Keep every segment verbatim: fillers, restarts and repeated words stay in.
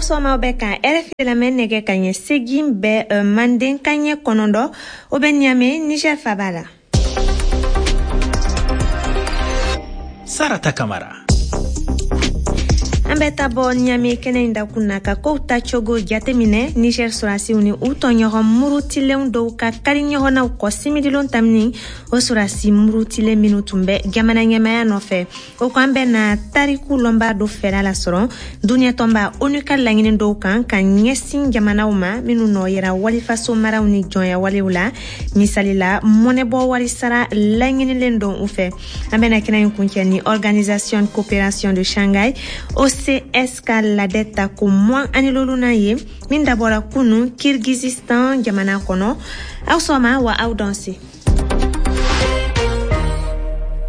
Sɔgɔma, bɛ ka R F I lamɛn. Nɛgɛ ka ɲɛ segin bɛ manden ka ɲɛ kɔnɔntɔn, o bɛ Niamey, Niger faba la. Sarata Kamara. An bɛ taa bɔ Niamey kɛnɛ in dakun na ka kow tacogo jateminɛ. Niger sɔrɔdasiw ni u tɔɲɔgɔn murutilenw dɔw ka kari ɲɔgɔnnaw kɔ simidilon tamini, o sɔrɔdasi murutilen minnu tun bɛ jamana ɲɛmaya nɔfɛ. O ko an bɛ na tariku lɔnba dɔ fɛla lasɔrɔ duniɲɛ tɔnba ONU ka laɲini dɔw kan ka ɲɛsin jamanaw ma minnu nɔ yera walifaso maraw ni jɔnya walew la, misali la mɔnɛbɔ wari sara laɲinilen don u fɛ. An bɛna kɛnɛ in kuncɛ ni Organisation Coopération de Shanghai, O C S, ka ladɛ ta ko mugan ani lolunan ye min dabɔra kunu Kirgizistan jamana kɔnɔ. Aw sɔgɔma wa, aw danse.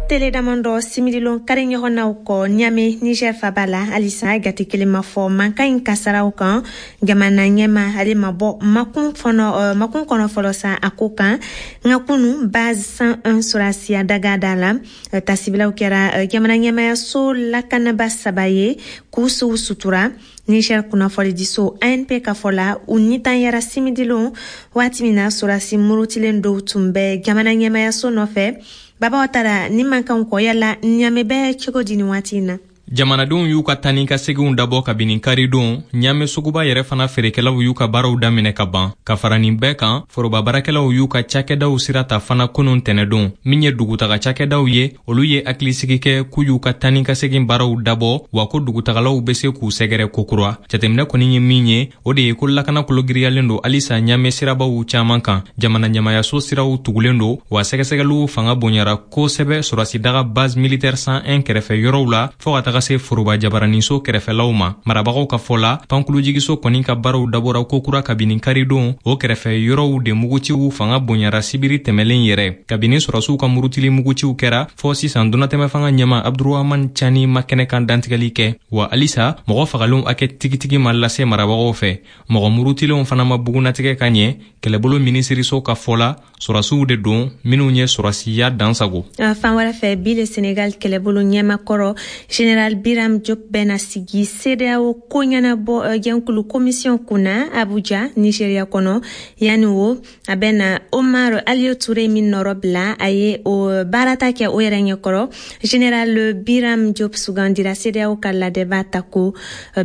Tele damadɔ simirilon kari ɲɔgɔnnaw kɔ Niamey, Niger faba la, halisa jate kelen ma fɔ mankan in kasaraw kan. Jamana ɲɛma, ale ma bɔ makun fɔnɔ makun kɔnɔ fɔlɔ sa a ko kan. Nka kunu, base cent un sɔrɔdasiya daga da la, tasibilaw kɛra jamana ɲɛmayaso lakanaba saba ye k'u sow sutura. Niger kunnafonidiso A N P ka fɔ la, u nitanyara simidilon waati min na sɔrɔdasi murutilen dɔw tun bɛ jamana ɲɛmayaso nɔfɛ. Baba Watara, ni mankanw kɔ, yala Niamey bɛ cogo di nin waati in na? Jamanadenw y'u ka tani ka seginw dabɔ kabini karidon. Niamey suguba yɛrɛ fana feerekɛlaw y'u ka baaraw daminɛ ka ban. Ka fara nin bɛɛ kan, foroba baarakɛlaw y'u ka cakɛdaw sira ta fana kunun tɛnɛdon. Min ye dugutaga cakɛdaw ye, olu ye hakilisigi kɛ k'u y'u ka tani ka segin baaraw dabɔ, wa ko dugutagalaw be se k'u sɛgɛrɛ kokura. Jateminɛ kɔni ye min ye, o de ye ko lakana kologiriyalen don halisa Niamey sirabaw caaman kan. Jamana ɲamayaso siraw tugulen don, wa sɛgɛsɛgɛliw fanga bonyara kosɛbɛ sɔrɔsidaga base militaire cent un kɛrɛfɛ yɔrɔw la, fɔɔ ka taga se foroba jabaraninso kɛrɛfɛlaw ma. Marabagaw ka fɔ la, pankulujigiso kɔni ka baaraw dabɔra kokura kabini karidon. O kɛrɛfɛ yɔrɔw de muguciw fanga bonyara sibiri tɛmɛlen yɛrɛ. Kabini sɔrɔsiw ka murutili muguciw kɛra fɔɔ sisan, donatɛmɛ fanga ɲɛma Abdurahaman Cani ma kɛnɛ kan dantigɛli kɛ, wa halisa mɔgɔ fagalenw hakɛ tigitigi ma lase marabagaw fɛ. Mɔgɔ murutilenw fana ma bugunatigɛ ka ɲɛ. Kɛlɛbolo minisiriso ka fɔ la, sɔrɔsiw de don minw ye sɔrɔsiya dansago. Fan wɛrɛ fɛ bi le, Senegal kɛlɛbolo ɲɛmakɔrɔ général Biram Diop bɛna sigi CEDEAO ko ɲɛnabɔ jɛnkulu commission kunna Abuja, Nigeria kɔnɔ. Yanni o, a bɛna Omar Aliou Touré min nɔrɔ bila, a ye o baarata kɛ o yɛrɛ ɲɛkɔrɔ. Général Biram Diop sugandira CEDEAO ka ladɛba ta ko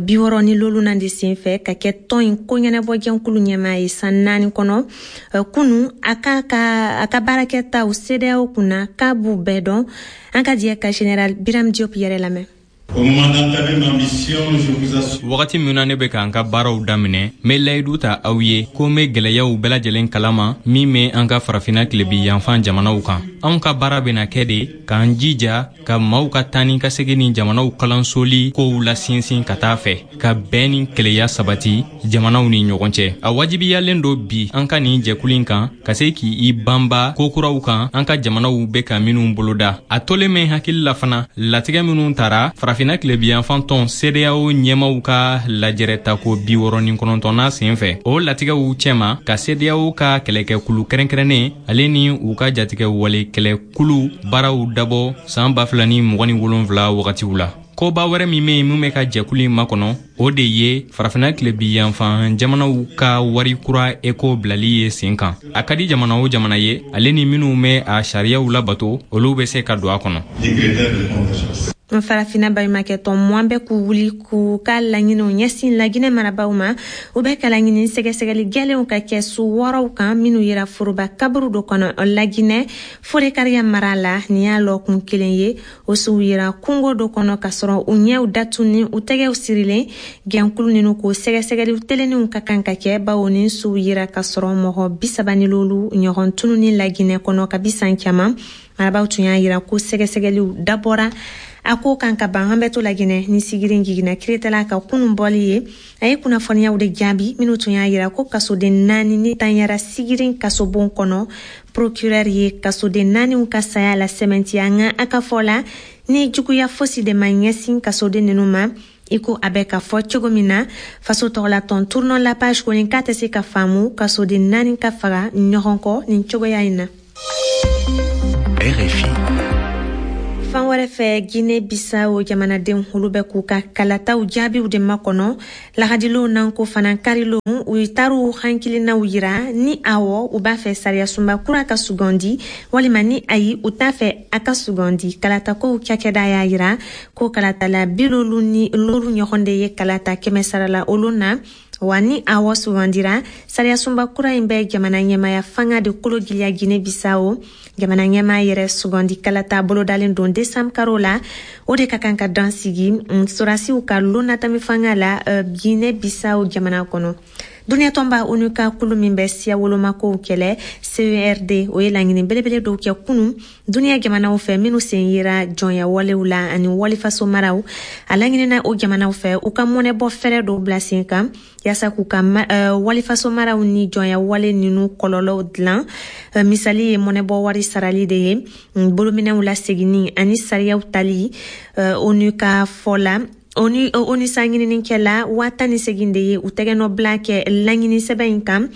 bi wɔɔrɔ ni lolunan de sen fɛ ka kɛ tɔn in ko ɲɛnabɔ jɛnkulu ɲɛmaa ye san naani kɔnɔ. Kunu, a ka ka a ka baarakɛtaw CEDEAO kunna k'a b'u bɛɛ dɔn. An ka jɛ ka général Biram Diop yɛrɛ lamɛn. Wagati min na ne bɛ k'an ka baaraw daminɛ, n bɛ layidu ta aw ye ko n bɛ gwɛlɛyaw bɛɛ lajɛlen kalama min bɛ an ka Farafina tilebi yanfan jamanaw kan. Anw ka baara bɛna kɛ de k'an jija ka maaw ka taa ni ka segin ni jamanaw kalansoli kow lasinsin ka taa fɛ, ka bɛn ni keleya sabati jamanaw ni ɲɔgɔn cɛ. A wajibiyalen don bi an ka nin jɛkulu in kan ka se k'i banba kokuraw kan an ka jamanaw bɛ ka minw boloda. A tolen bɛ hakili la fana, latigɛ minw tara Farafina tilebiyanfan tɔn CEDEAO ɲɛmaw ka lajɛrɛ tako bi wɔɔrɔ ni kɔnɔntɔnna sen fɛ, o latigɛw cɛma ka CEDEAO ka kɛlɛkɛkulu kɛrɛnkɛrɛnnen ale ni u ka jatigɛ wale kɛlɛkulu baaraw dabɔ saan ba fila ni mugan ni wolonfila wagatiw la. Koba wɛrɛ min be yen min bɛ ka jɛkulu in makɔnɔ, o de ye Farafina tilebi yanfan jamanaw ka wari kura eko bilali ye sen kan. A ka di jamana o jamana ye, ale ni minw bɛ a sariyaw labato, olu bɛ se ka don a kɔnɔ. Farafina baɲumakɛ tɔn mugan bɛ k'u wuli k'u ka laɲiniw ɲɛsin Laginɛ marabaw ma. U bɛ ka laɲini sɛgɛsɛgɛli gwɛlɛnw ka kɛ su wɔɔrɔw kan minw yera foroba kaburu dɔ kɔnɔ Laginɛ Forekariya mara la. Nin y'a lɔkun kelen ye. O suw yera kungo dɔ kɔnɔ ka sɔrɔ u ɲɛw datuni, u tɛgɛw sirilen. Gɛnkulu ninu k'o sɛgɛsɛgɛli telenninw ka kan ka kɛ, bawo nin suw yera ka sɔrɔ mɔgɔ bisaba ni lolu ɲɔgɔn tununi Laginɛ kɔnɔ kabi san caman. Marabaw tun y'a yira ko sɛgɛsɛgɛliw dabɔra a ko kan ka ban. An bɛ to Laginɛ ni sigirin jiginna kiretala ka kunun bɔli ye. A ye kunnafoniyaw de jaabi minnu tun y'a yira ko kasoden naani ni tanyara sigirin kasobon kɔnɔ. Procureur ye kasoden naaniw ka saya la sɛmɛntiya, nka a ka fɔ la, ni juguya fosi de ma ɲɛsin kasoden ninnu ma i ko a bɛ ka fɔ cogo min na. Faso tɔgɔlatɔn Tournons la page kɔni k'a tɛ se ka faamu kasoden naani ka faga ɲɔgɔn kɔ nin cogoya in na. R F I. Fan wɛrɛ fɛ, Guinée Bissau jamanadenw, olu bɛ k'u ka kalataw jaabiw de makɔnɔ lahadilon nan ko fana karilon. U taar'u hankilinaw yira ni awɔ, u b'a fɛ sariyasunba kura ka sugandi, walima ni ayi, u t'a fɛ a ka sugandi. Kalatakow cakɛda y'a yira ko kalatala bilolu ni loru ɲɔgɔn de ye kalata kɛmɛ sarala olu na. Wa ni awɔ sugandira, sariyasunba kura in bɛ jamana ɲɛmaya fanga de kolo giliya Guinée Bissau. Jamana ɲɛmaa yɛrɛ sugandi kalata bolodalen don desanburu karo la, o de ka kan ka dan sigi sɔrɔdasiw ka lonatami fanga la Guinée Bissau jamana kɔnɔ. Duniya tɔnba ONU ka kulu min bɛ siya wolomakow kɛlɛ, C E R D, o ye laɲini belebele dɔw kɛ kunu duniya jamanaw fɛ minnu sen yera jɔnya walew la ani walifaso maraw. A laɲinina o jamanaw fɛ u ka mɔnɛbɔ fɛrɛ dɔw bila sen kan yaasa k'u ka uh, walifaso maraw ni jɔnya wale ninu kɔlɔlɔw dilan. uh, misali ye mɔnɛbɔ wari sarali de ye, bolominɛw laseginni ani sariyaw tali. uh, ONU ka fɔ la, ONU ONU sa ɲininikɛla waa tan ni segin de ye u tɛgɛnɔ bila kɛ laɲini sɛbɛn in kan.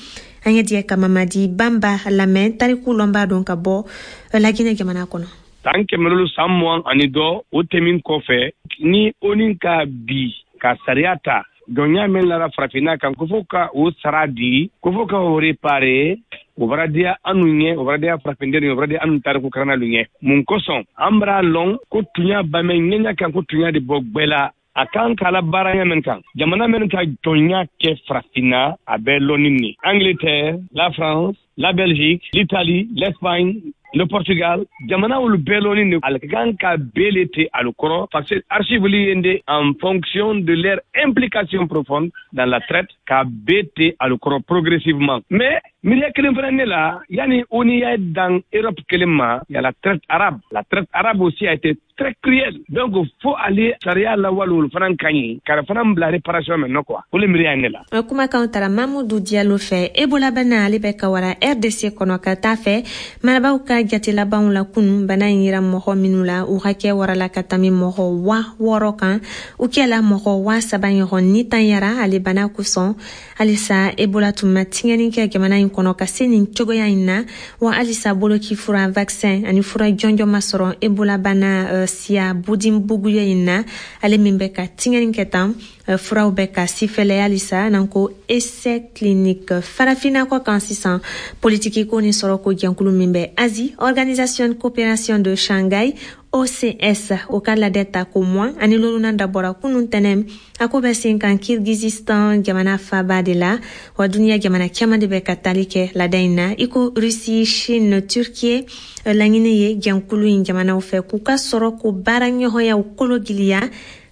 An ye diɲɛ ka Mamadi Banba lamɛn, tariku lɔnbaa dɔn ka bɔ Laginɛ jamana kɔnɔ. San kɛmɛ lolu san mugan ani dɔ o tɛmin kɔfɛ, ni ONU ka bi ka sariya ta jɔnya min lara farafinna kan, ko fo ka o sara di, ko fo ka o réparer, o bara diya anu ɲɛ, o bara diya farafinden, o bara diya anu tariku karannalu ɲɛ. Mun kosɔn an bara lɔn ko tunya bamɛ ɲɛɲa kan, ko tunya de bɔ gbɛ la, a kan k'a la baara min kan, jamana minnu ka jɔnya kɛ farafinna, a bɛ lɔnni ni Angleterre, la France, la Belgique, l'Italie, l'Espagne, le Portugal, jamana olu bɛɛ lɔnni de ale ka kan ka bɛɛ te alu kɔrɔ, parce que archive li de en fonction de leur implication profonde dans la traite ka bɛɛ te alu kɔrɔ progressivement. Mais miiriya kelen fana ne la, yani ONU y'a dan Europe kelen ma, y a la traite arabe. La traite arabe aussi a été très cruelle, donc fo ale sariya lawale olu fana ka ɲi ka fana bila réparation mɛ nɔ quoi, o le miiriya ye ne la. Kumakanw tara Mamudu Diallo fɛ. Ebola bana, ale bɛ ka wara R D C kɔnɔ ka taa fɛ. Marabaw ka jate labanw la kunu, bana in yira mɔgɔ minnu la, u hakɛ warala ka tami mɔgɔ wa wɔɔrɔ kan. U kɛla mɔgɔ wa saba ɲɔgɔn ni tan yara ale bana kosɔn. Halisa Ebola tun ma tiɲɛni kɛ jamana in kɔnɔ ka se nin cogoya in na. Wa halisa boloki fura, vaccin ani fura jɔnjɔn ma sɔrɔ Ebola bana uh, siya Bundibugyo in na, ale min bɛ ka tiɲɛni kɛ tan. uh, furaw bɛ ka sifɛlɛ halisa n'an ko essai clinique. Farafinna kɔ kan sisan, politiki ko ni sɔrɔ ko jɛnkulu min bɛ Asie, Organisation Coopération de Shanghai, O C S, o ka ladɛ ta ko mugan ani lolunan dabɔra kunun tɛnɛ. A ko bɛ sen kan Kirgizistan jamana faba de la. Wa duniya jamana caman de bɛ ka tali kɛ ladɛ in na, i ko Russie, Chine, Turquie. Laɲini ye jɛnkulu in jamanaw fɛ k'u ka sɔrɔ ko baara ɲɔgɔnyaw kolo giliya.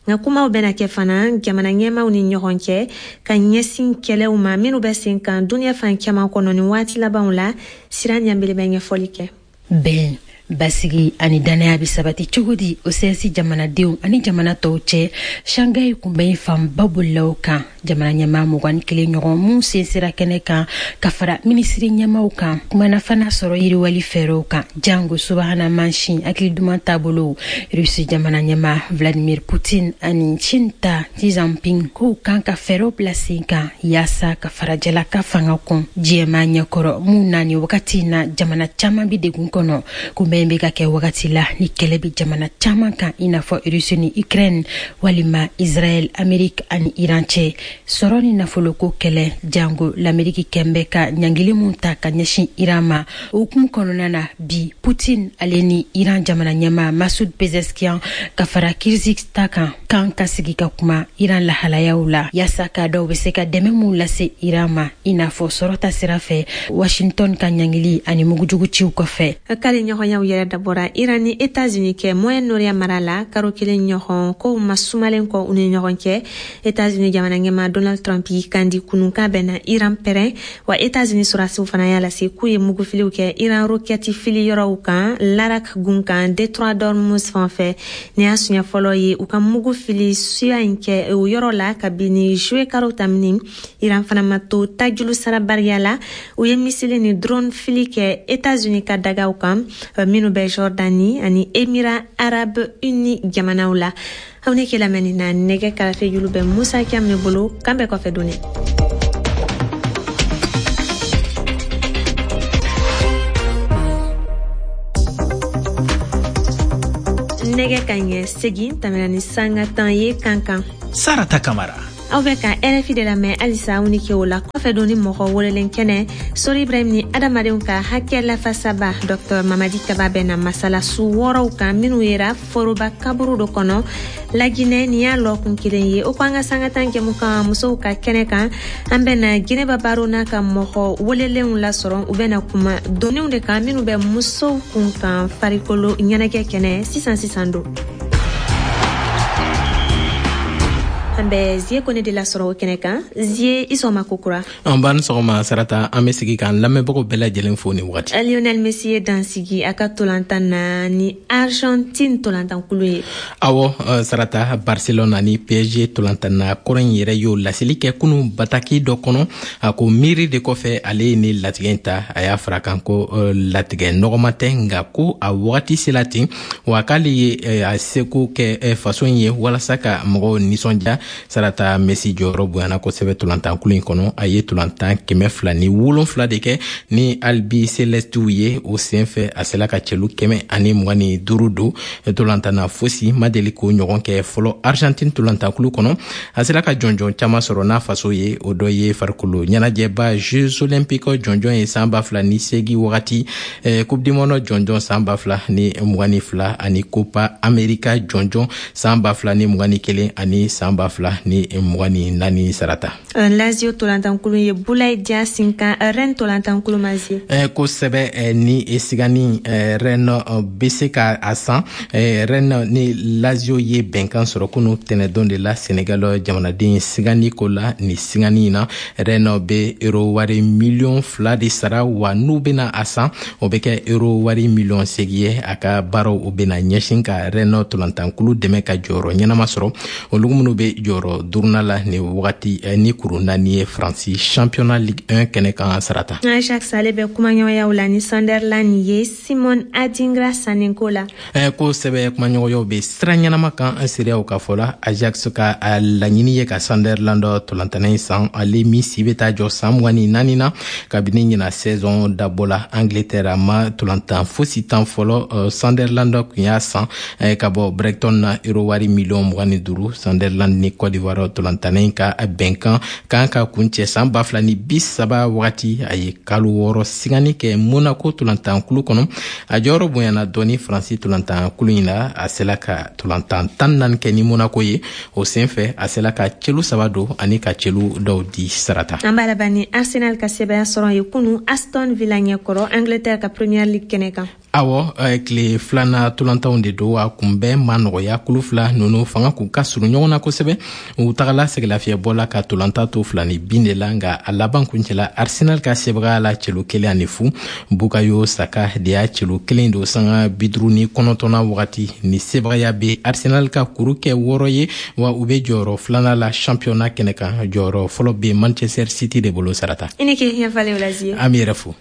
Nka kumaw bɛna kɛ fana jamana ɲɛmaw ni ɲɔgɔn cɛ ka ɲɛsin kɛlɛw ma minnu bɛ sen kan duniya fan caman kɔnɔ ni waati labanw la. Sira ɲanbele bɛ ɲɛfɔli kɛ. Bɛn, basigi ani dannaya bɛ sabati cogo di O C S jamanadenw ani jamana tɔw cɛ? Shanghai kunbɛn fanba bolilaw kan. Jamana ɲɛmaa mugan ni kelen ɲɔgɔn mun sen sera kɛnɛ kan ka fara minisiri ɲɛmaw kan, kumana fana sɔrɔ yiriwali fɛɛrɛw kan, jango subahana mansin hakili duman taabolo. Rusi jamana ɲɛma Vladimir Putin ani Chine ta Xi Jinping k'u kan ka fɛɛrɛw bila sen kan yaasa ka farajɛla ka fanga kɔn diɲɛma ɲɛkɔrɔ, mun na ni wagati na jamana caman bi degun kɔnɔ. Kunbɛn bɛ ka kɛ wagati la ni kɛlɛ bɛ jamana caman kan, i n'a fɔ Rusi ni Ukraine, walima Israɛl, Amerique ani Iran cɛ, sɔrɔ ni nafoloko kɛlɛ, jango l'Ameriki kɛn bɛ ka ɲangili mun ta ka ɲɛsin Iran ma. O hukumu kɔnɔna na bi, Putin ale ni Iran jamana ɲɛma Masud Pezeshkian ka fara Kirgiz ta kan kan ka sigi ka kuma Iran lahalayaw la, yaasa k'a dɔw bɛ se ka dɛmɛ mun lase Iran ma, i n'a fɔ sɔrɔ ta sira fɛ, Washington ka ɲangili ani mugujugu ciw kɔfɛ. Kari ɲɔgɔnyaw yɛrɛ dabɔra Iran ni Etats-Unis kɛ Moyen-Orient mara la karo kelen ɲɔgɔn kow ma sumalen kɔ u ni ɲɔgɔn cɛ. Etats-Unis jamana ɲɛma Donald Trump y'i kandi kunun k'a bɛnna Iran pɛrɛn. Wa Etats-Unis sɔrɔdasiw fana y'a lase k'u ye mugufiliw kɛ Iran rokɛti fili yɔrɔw kan Larak gun kan, détroit d'Ormuz fan fɛ. Nin y'a siɲɛ fɔlɔ ye u ka mugu fili suya in kɛ o yɔrɔ la kabini juillet karo tamini. Iran fana ma to tajulu sarabariya la, u ye missile ni drone fili kɛ Etats-Unis ka dagaw kan minnu bɛ Jordanie ani Émirats Arabes Unis jamanaw la. Aw ne ke lamɛnni na, nɛgɛ karafe julu bɛ Musa Cam ne bolo. Kan bɛɛ kɔfɛ donni. Nɛgɛ ka ɲɛ segin tɛmɛna ni sanga tan ye Kankan. Sarata Kamara. Aw bɛ ka R F I de lamɛn halisa. Aw ni ke o la kɔfɛ don ni mɔgɔ welelen kɛnɛ, Sori Ibrahim ni adamadenw ka hakɛ lafasaba Docteur Mamadi Kaba bɛ na masala su wɔɔrɔw kan minnu yera foroba kaburu dɔ kɔnɔ Laginɛ. Nin y'a lɔkun kelen ye. O ko an ka sanga tan jɛmu kan musow ka kɛnɛ kan, an bɛ na Jinɛba Baro n'a ka mɔgɔ welelenw lasɔrɔ. U bɛ na kuma doniw de kan minnu bɛ musow kun kan farikolo ɲɛnajɛ kɛnɛ sisan sisan don. An bɛ Zie Kone de lasɔrɔ o kɛnɛ kan. Zie, i sɔgɔma kokura. An b'an sɔgɔma Sarata. An bɛ sigi k'an lamɛnbagaw bɛɛ lajɛlen fo nin wagati. Lionel Messi ye dansigi a ka tolantan na ni Argentine tolantankulu ye. Awɔ Sarata, Barcelona ni P S G tolantanna kɔrɔ in yɛrɛ y'o laseli kɛ kunu bataki dɔ kɔnɔ. A ko miiri de kɔfɛ ale ye ni latigɛ in ta. A y'a fara kan ko latigɛ nɔgɔma tɛ, nka ko a wagati sela ten, wa k'ale ye a seko kɛ faso in ye walasa ka mɔgɔw nisɔndiya. Sarata, Messi jɔyɔrɔ bonyana kosɛbɛ tolantankulu in kɔnɔ. A ye tolantan kɛmɛ fila ni wolonfila de kɛ ni Albicelestew ye. O sen fɛ, a sela ka cɛlu kɛmɛ ani mugan ni duuru don tolantan na. Fosi ma deli k'o ɲɔgɔn kɛ fɔlɔ Argentine tolantankulu kɔnɔ. A sera ka jɔnjɔn caman sɔrɔ n'a faso ye. O dɔ ye farikolo ɲɛnajɛba Jeux olympiques jɔnjɔn ye san ba fila ni seegin wagati, Coupe du monde jɔnjɔn san ba fila ni mugan ni fila, ani Copa America jɔnjɔn san ba fila ni mugan ni kelen ani san ba fila ni mugan ni naani, Sarata. Lazio tolantankulu ye Boulaye Dia sinkan Rennes tolantankulu ma, Zie. Kosɛbɛ, ni sigani Rennes bɛ se ka a san. Rennes ni Lazio ye bɛnkan sɔrɔ kunu tɛnɛdon de la Senegal jamanaden sigani ko la. Ni sigani in na, Rennes bɛ euro wari miliyɔn fila de sara, wa n'u bɛna a san, o bɛ kɛ euro wari miliyɔn seegin ye. A ka baaraw o bɛna ɲɛsin ka Rennes tolantankulu dɛmɛ ka jɔyɔrɔ ɲɛnama sɔrɔ, olu minnu bɛ jɔyɔrɔ duurunan la nin wagati ni kuru naani ye Faransi championnat Ligue un kɛnɛ kan, Sarata. Ajax ale bɛ kumaɲɔgɔnyaw la ni Sunderland ye Simon Adingra sanni ko la. Kosɛbɛ, kumaɲɔgɔnyaw bɛ sira ɲɛnama kan seereyaw ka fɔ la. Ajax ka laɲini ye ka Sunderland tolantanna in san, ale min si bɛ taa jɔ san mugan ni naani na. Kabini ɲina saison dabɔ la Angleterre, a ma tolantan fosi tan fɔlɔ. Sunderland tun y'a san ka bɔ Brighton na euro wari miliyɔn mugan ni duuru. Sunderland ni Côte d'Ivoire tolantanna in ka bɛnkan kan ka kuncɛ san ba fila ni bi saba wagati. A ye kalo wɔɔrɔ sigani kɛ Monaco tolantankulu kɔnɔ. A jɔyɔrɔ bonyana dɔɔni Faransi tolantankulu in na. A sela ka tolantan tan naani kɛ ni Monaco ye. O sen fɛ, a sela ka celu saba don ani ka celu dɔw di, Sarata. An b'a laban ni Arsenal ka sɛbɛya sɔrɔ ye kunu Aston Villa ɲɛkɔrɔ Angleterre ka Premier League kɛnɛ kan. Awɔ, tile filanan tolantanw de don. A kunbɛn ma nɔgɔya. Kulu fila ninnu fanga k'u ka surun ɲɔgɔn na kosɛbɛ. U tagala sɛgɛlafiyɛbɔ la ka tolantan to fila ni bin de la, nka a laban kuncɛla Arsenal ka sebagaya la celu kelen ani fu. Bukayo Saka de y'a celu kelen don sanga bi duuru ni kɔnɔntɔnna wagati. Ni sebagaya bɛ Arsenal ka kuru kɛ wɔɔrɔ ye, wa u bɛ jɔyɔrɔ filanan la championnat kɛnɛ kan. Jɔyɔrɔ fɔlɔ bɛ Manchester City de bolo, Sarata. I ni ke ɲɛfalen o la, Zie. An b'i yɛrɛ fo.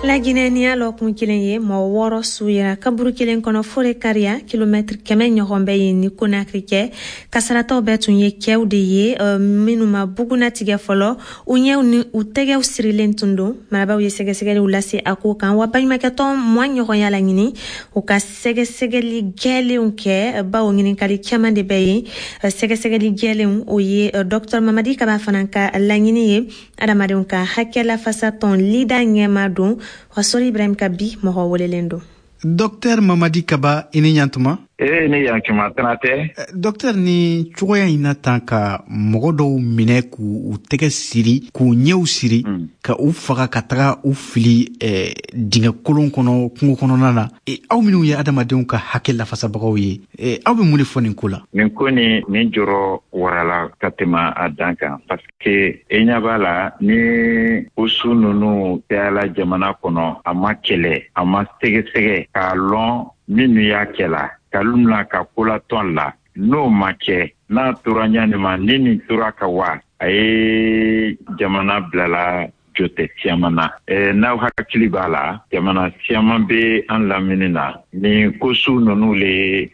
Laginɛ, ni y'a lɔkun kelen ye, mɔgɔ wɔɔrɔ su yera kaburu kelen kɔnɔ Forécariah, kilomɛtiri kɛmɛ ɲɔgɔn bɛ yen ni Konakiri kɛ. Kasaratɔw bɛɛ tun ye cɛw de ye minnu ma bugunatigɛ fɔlɔ. U ɲɛw ni u tɛgɛw sirilen tun don. Marabaw ye sɛgɛsɛgɛliw lase a ko kan, wa baɲumakɛtɔn mugan ɲɔgɔn y'a laɲini u ka sɛgɛsɛgɛli gɛlenw kɛ, bawo ɲininkali caman de bɛ yen. Sɛgɛsɛgɛli gɛlenw, o ye Docteur Mamadi Kaba fana ka laɲini ye. Adamadenw ka hakɛ lafasatɔn LIDA ɲɛma don, wa Sori Ibrahim ka bi mɔgɔ welelen don. Docteur Mamadi Kaba, i ni ɲantuma. Ee, ni yankuma tana tɛ. Docteur, ni cogoya in na tan ka mɔgɔ dɔw minɛ k'u u tɛgɛ siri, k'u ɲɛw siri, mm. ka u faga ka taga u fili eh, dingɛ kolon kɔnɔ kungo kɔnɔna na, e, aw minnu ye adamadenw ka hakɛ lafasabagaw ye, e, aw bɛ mun de fɔ nin ko la? Nin ko ni nin jɔrɔ warala ka tɛmɛ a dan kan, parce que e ɲɛ b'a la ni ko su ninnu cayala jamana kɔnɔ, a ma kɛlɛ, a ma sɛgɛsɛgɛ k'a lɔn minnu y'a kɛla kalu mina ka kolatɔn la. N'o ma kɛ, n'a tora ɲani ma, ni nin tora ka wa a ye jamana bilala jɔtɛ siyaman na. N'aw hakili b'a la, jamana siyaman bɛ an lamini na, nin ko su ninnu le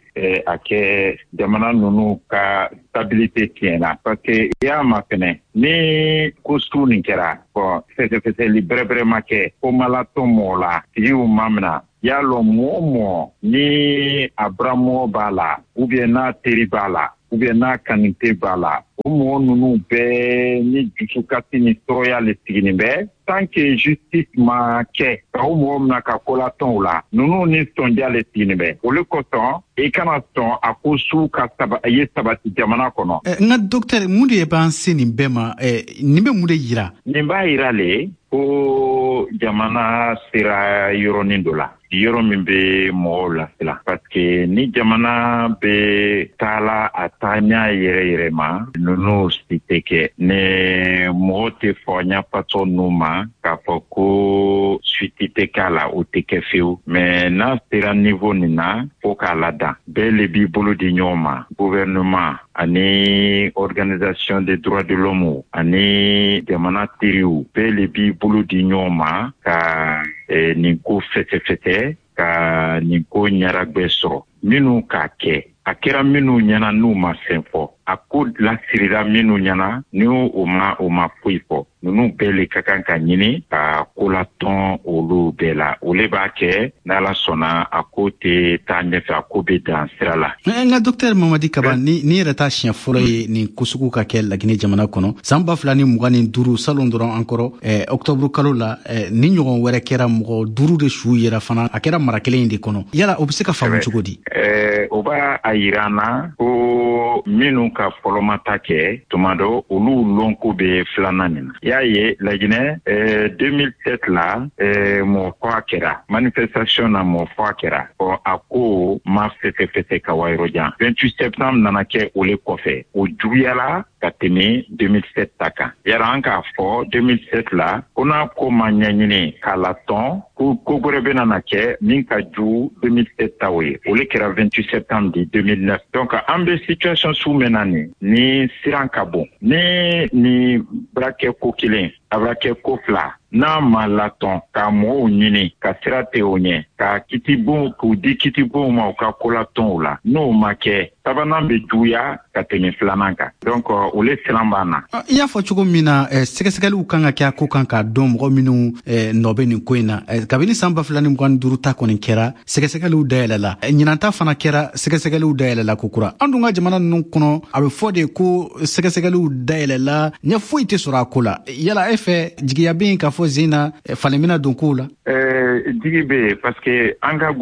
a kɛ jamana ninnu ka stabilité tiɲɛna, parce que i y'a mafɛnɛ ni ko su nin kɛra, bon, fɛsɛfɛsɛli bɛrɛbɛrɛ ma kɛ, ko ma latɔn mɔgɔ la, tigiw ma mina. Y'a lɔn mɔgɔ o mɔgɔ ni a buramɔgɔ b'a la ou bien n'a teri b'a la ou bien n'a kanite b'a la, o mɔgɔ ninnu bɛɛ ni dusukasi ni tɔɔrɔya le siginin bɛ. Tant que justice ma kɛ ka o mɔgɔ mina ka kolatɔnw la, ninnu ni sɔndiya le siginin bɛ. O le kosɔn i kana sɔn a ko su ka saba ye sabati jamana kɔnɔ. N ka docteur, mun de b'an se nin bɛɛ ma? Nin bɛ mun de yira? Nin b'a yira le ko jamana sera yɔrɔnin dɔ la, yɔrɔ min bɛ mɔgɔw lasiran, parce que ni jamana bɛ taala a taaɲa yɛrɛ yɛrɛ ma, ninnu si tɛ kɛ. Ni mɔgɔ tɛ fɔ ɲɛfasɔ ninnu ma k'a fɔ ko suite tɛ k'a la, o tɛ kɛ fewu. Mais n'a sera niveau nin na, fo k'a ladan. Bɛɛ le b'i bolo di ɲɔgɔn ma, gouvernement ani organisation des droits de l'homme ani jamana teriw, bɛɛ le b'i bolo di ɲɔgɔn ma ka eh, nin ko fɛsɛfɛsɛ, ka nin ko ɲaragbɛ sɔrɔ. Minnu k'a kɛ, a kɛra minnu ɲɛna n'u ma fɛn fɔ, a ko lasirira minnu ɲɛna ni o ma o ma foyi fɔ, ninnu bɛɛ le ka kan ka ɲini ka kolatɔn olu bɛɛ la. O le b'a kɛ n'Ala sɔnna a ko tɛ taa ɲɛfɛ, a ko bɛ dan sira la. N ka docteur Mamadi Kaba, ni ni yɛrɛ t'a siɲɛ fɔlɔ ye nin ko sugu ka kɛ Laginɛ jamana kɔnɔ. San ba fila ni mugan ni duuru, salon dɔrɔn an kɔrɔ, eh, octobre kalo la, eh, ni ɲɔgɔn wɛrɛ kɛra, mɔgɔ duuru de su yera fana, a kɛra mara kelen in de kɔnɔ. Yala o bɛ se ka faamu cogo di? Eh, o b'a a yira an na ko minnu ka fɔlɔmata kɛ tuma dɔ, olu lɔnko bɛ filanan nin na. Y'a ye Laginɛ, eh, deux mille sept la, eh, mɔgɔ faga kɛra manifestation na, mɔgɔ faga kɛra. Ɔ a ko ma fɛsɛfɛsɛ ka wa yɔrɔ jan. vingt-huit septembre nana kɛ o le kɔfɛ, o juguyala ka tɛmɛ deux mille sept ta kan. Yara an k'a fɔ deux mille sept la ko n'a ko ma ɲɛɲini k'a latɔn, ko ko wɛrɛ bɛna na kɛ min ka jugu deux mille sept taw ye. O le kɛra vingt-huit septembre de deux mille neuf. Donc an bɛ situation su min na nin, ni siran ka bon, ni ni bara kɛ ko kelen, a bara kɛ ko fila, n'a ma latɔn ka mɔgɔw ɲini ka sira tɛ o ɲɛ, ka kitibon k'u di kitibonw ma u ka kolatɔnw la, n'o ma kɛ, sabanan bɛ juguya ka tɛmɛ filanan kan. Donc o le siran b'an na. I y'a fɔ cogo min na, sɛgɛsɛgɛliw kan ka kɛ a ko kan k'a dɔn mɔgɔ minnu nɔ bɛ nin ko in na. Kabini san ba fila ni mugan ni duuru ta kɔni kɛra, sɛgɛsɛgɛliw dayɛlɛla. Ɲinan ta fana kɛra, sɛgɛsɛgɛliw dayɛlɛla kokura. An dun ka jamana ninnu kɔnɔ, a bɛ fɔ de ko sɛgɛsɛgɛliw dayɛlɛla, ɲɛ foyi tɛ sɔrɔ a ko la. Yala e fɛ, jigiya bɛ yen k'a fɔ zen na falen bɛna don kow la? Jigi bɛ yen, parce que an ka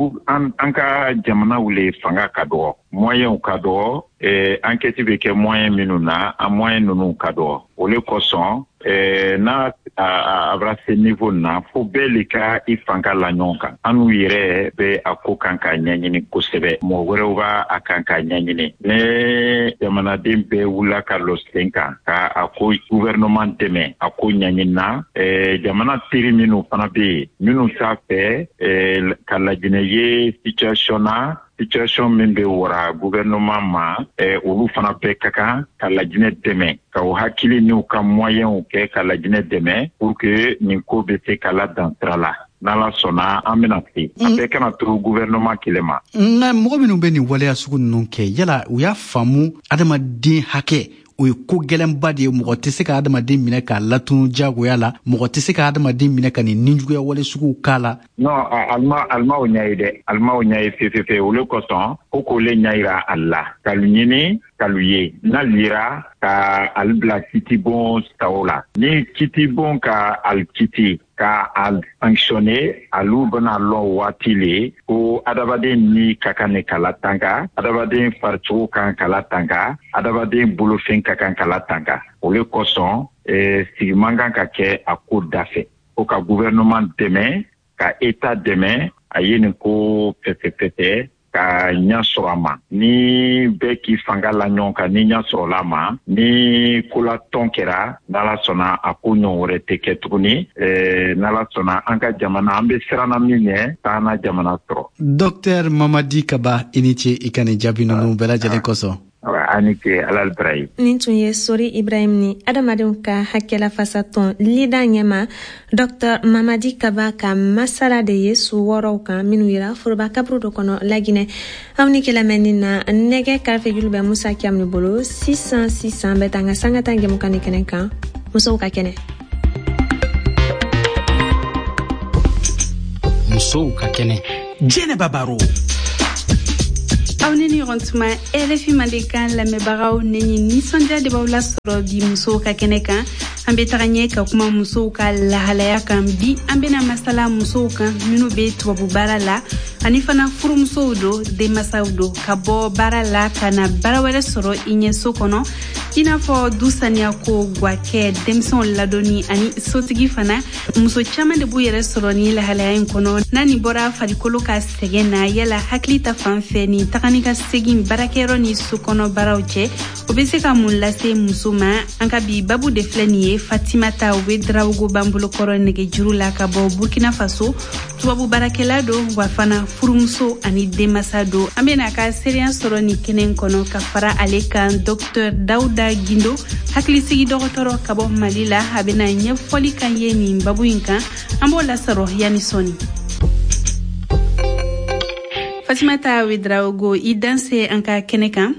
an ka jamanaw le fanga ka dɔgɔ, moyens ka dɔgɔ, enquête bɛ kɛ moyen minnu na, a moyen ninnu ka dɔgɔ. O le kosɔn n'a a bara se niveau na, fo bɛɛ le ka i fanga la ɲɔgɔn kan. An n'u yɛrɛ bɛ a ko kan k'a ɲɛɲini kosɛbɛ, mɔgɔ wɛrɛw b'a a kan k'a ɲɛɲini. Ne jamanaden bɛɛ wulila ka lɔ sen kan ka a ko gouvernement dɛmɛ a ko ɲɛɲini na. Jamana teri minnu fana bɛ yen, minnu t'a fɛ ka Laginɛ ye situation na, situation min bɛ wara gouvernement ma, olu fana bɛɛ ka kan ka Laginɛ dɛmɛ, ka u hakili n'u ka moyens kɛ ka Laginɛ dɛmɛ pour que nin ko bɛ se ka ladan sira la. N'Ala sɔnna an bɛna se a bɛɛ kana to gouvernement kelen ma. Nka mɔgɔ minnu bɛ nin waleya sugu ninnu kɛ, yala u y'a faamu adamaden hakɛ o ye ko gɛlɛnba de ye? Mɔgɔ tɛ se ka adamaden minɛ k'a latunu diyagoya la, mɔgɔ tɛ se ka adamaden minɛ ka nin nijuguya wale suguw k'a la. Non, alima alimaw ɲɛ ye dɛ, alimaw ɲɛ ye fefefe. O le kosɔn ko k'o le ɲɛ yira a la, k'alu ɲini k'alu ye, n'alu yera ka ali bila kitibon taw la, ni kitibon ka ali kiti ka a sanctionner, alu bɛna lɔn waati le ko adamaden ni ka kan ne ka latanka, adamaden faricogo kan ka latanka, adamaden bolofɛn ka kan ka latanka. O le kosɔn sigi man kan ka kɛ a ko da fɛ, ko ka gouvernement dɛmɛ, ka état dɛmɛ a ye nin ko fɛsɛfɛsɛ ka ɲɛ sɔrɔ a ma. Ni bɛɛ k'i fanga la ɲɔgɔn kan, ni ɲɛ sɔrɔla a ma, ni kolatɔn kɛra, n'Ala sɔnna a ko ɲɔgɔn wɛrɛ tɛ kɛ tuguni. N'Ala sɔnna an ka jamana, an bɛ siranna min ɲɛ, k'an na jamana sɔrɔ. Docteur Mamadi Kaba, i ni ce i ka nin jaabi ninnu bɛɛ lajɛlen kosɔn. Ani ke Ala barayi. Nin tun ye Sori Ibrahim ni adamadenw ka hakɛlafasatɔn lida ɲɛma Docteur Mamadi Kaba ka masala de ye su wɔɔrɔw kan minnu yira foroba kaburu dɔ kɔnɔ Laginɛ. Aw ni ke lamɛnni na, nɛgɛ karafejulu bɛ Musa Kiam ni bolo. Sisan sisan bɛ taa an ka sanga tan jɛmukan ni kɛnɛ kan, musow ka kɛnɛ. Musow ka kɛnɛ. Jɛnɛba Baro. Aw ni ni ɲɔgɔn tuma R F I Mandenkan lamɛnbagaw, ne ni nisɔndiya de b'aw lasɔrɔ bi musow ka kɛnɛ kan. An bɛ taga ɲɛ ka kuma musow ka lahalaya kan. Bi, an bɛna masala musow kan minnu bɛ tubabu baara la, ani fana furumusow do, denmasaw do, ka bɔ baara la ka na baara wɛrɛ sɔrɔ i ɲɛ so kɔnɔ, i n'a fɔ du saniya ko, gwakɛ, denmisɛnw ladonni ani sotigi fana. Muso caaman de b'u yɛrɛ sɔrɔ ni lahalaya in kɔnɔ. N'a nin bɔra farikolo ka sɛgɛn na, yala hakili ta fan fɛ, nin taga ni ka segin baarakɛyɔrɔ ni so kɔnɔ baaraw cɛ, o be se ka mun lase muso ma? An ka bi babu de filɛ nin ye. Fatimata Ouédraogo b'an bolokɔrɔ nɛgɛjuru la ka bɔ Burkina Faso. Tubabu baarakɛla do, wa fana furumuso ani denmasa do. An bena a ka seereya sɔrɔ nin kɛnɛ kɔnɔ. Ka fara ale kan, Docteur Dawuda Gindo, hakilisigi dɔgɔtɔrɔ ka bɔ Mali la, a bena ɲɛfɔli kan ye nin babu in kan. An b'o lasɔrɔ yanni sɔni. Fatimata Ouédraogo, i danse an ka kɛnɛ kan.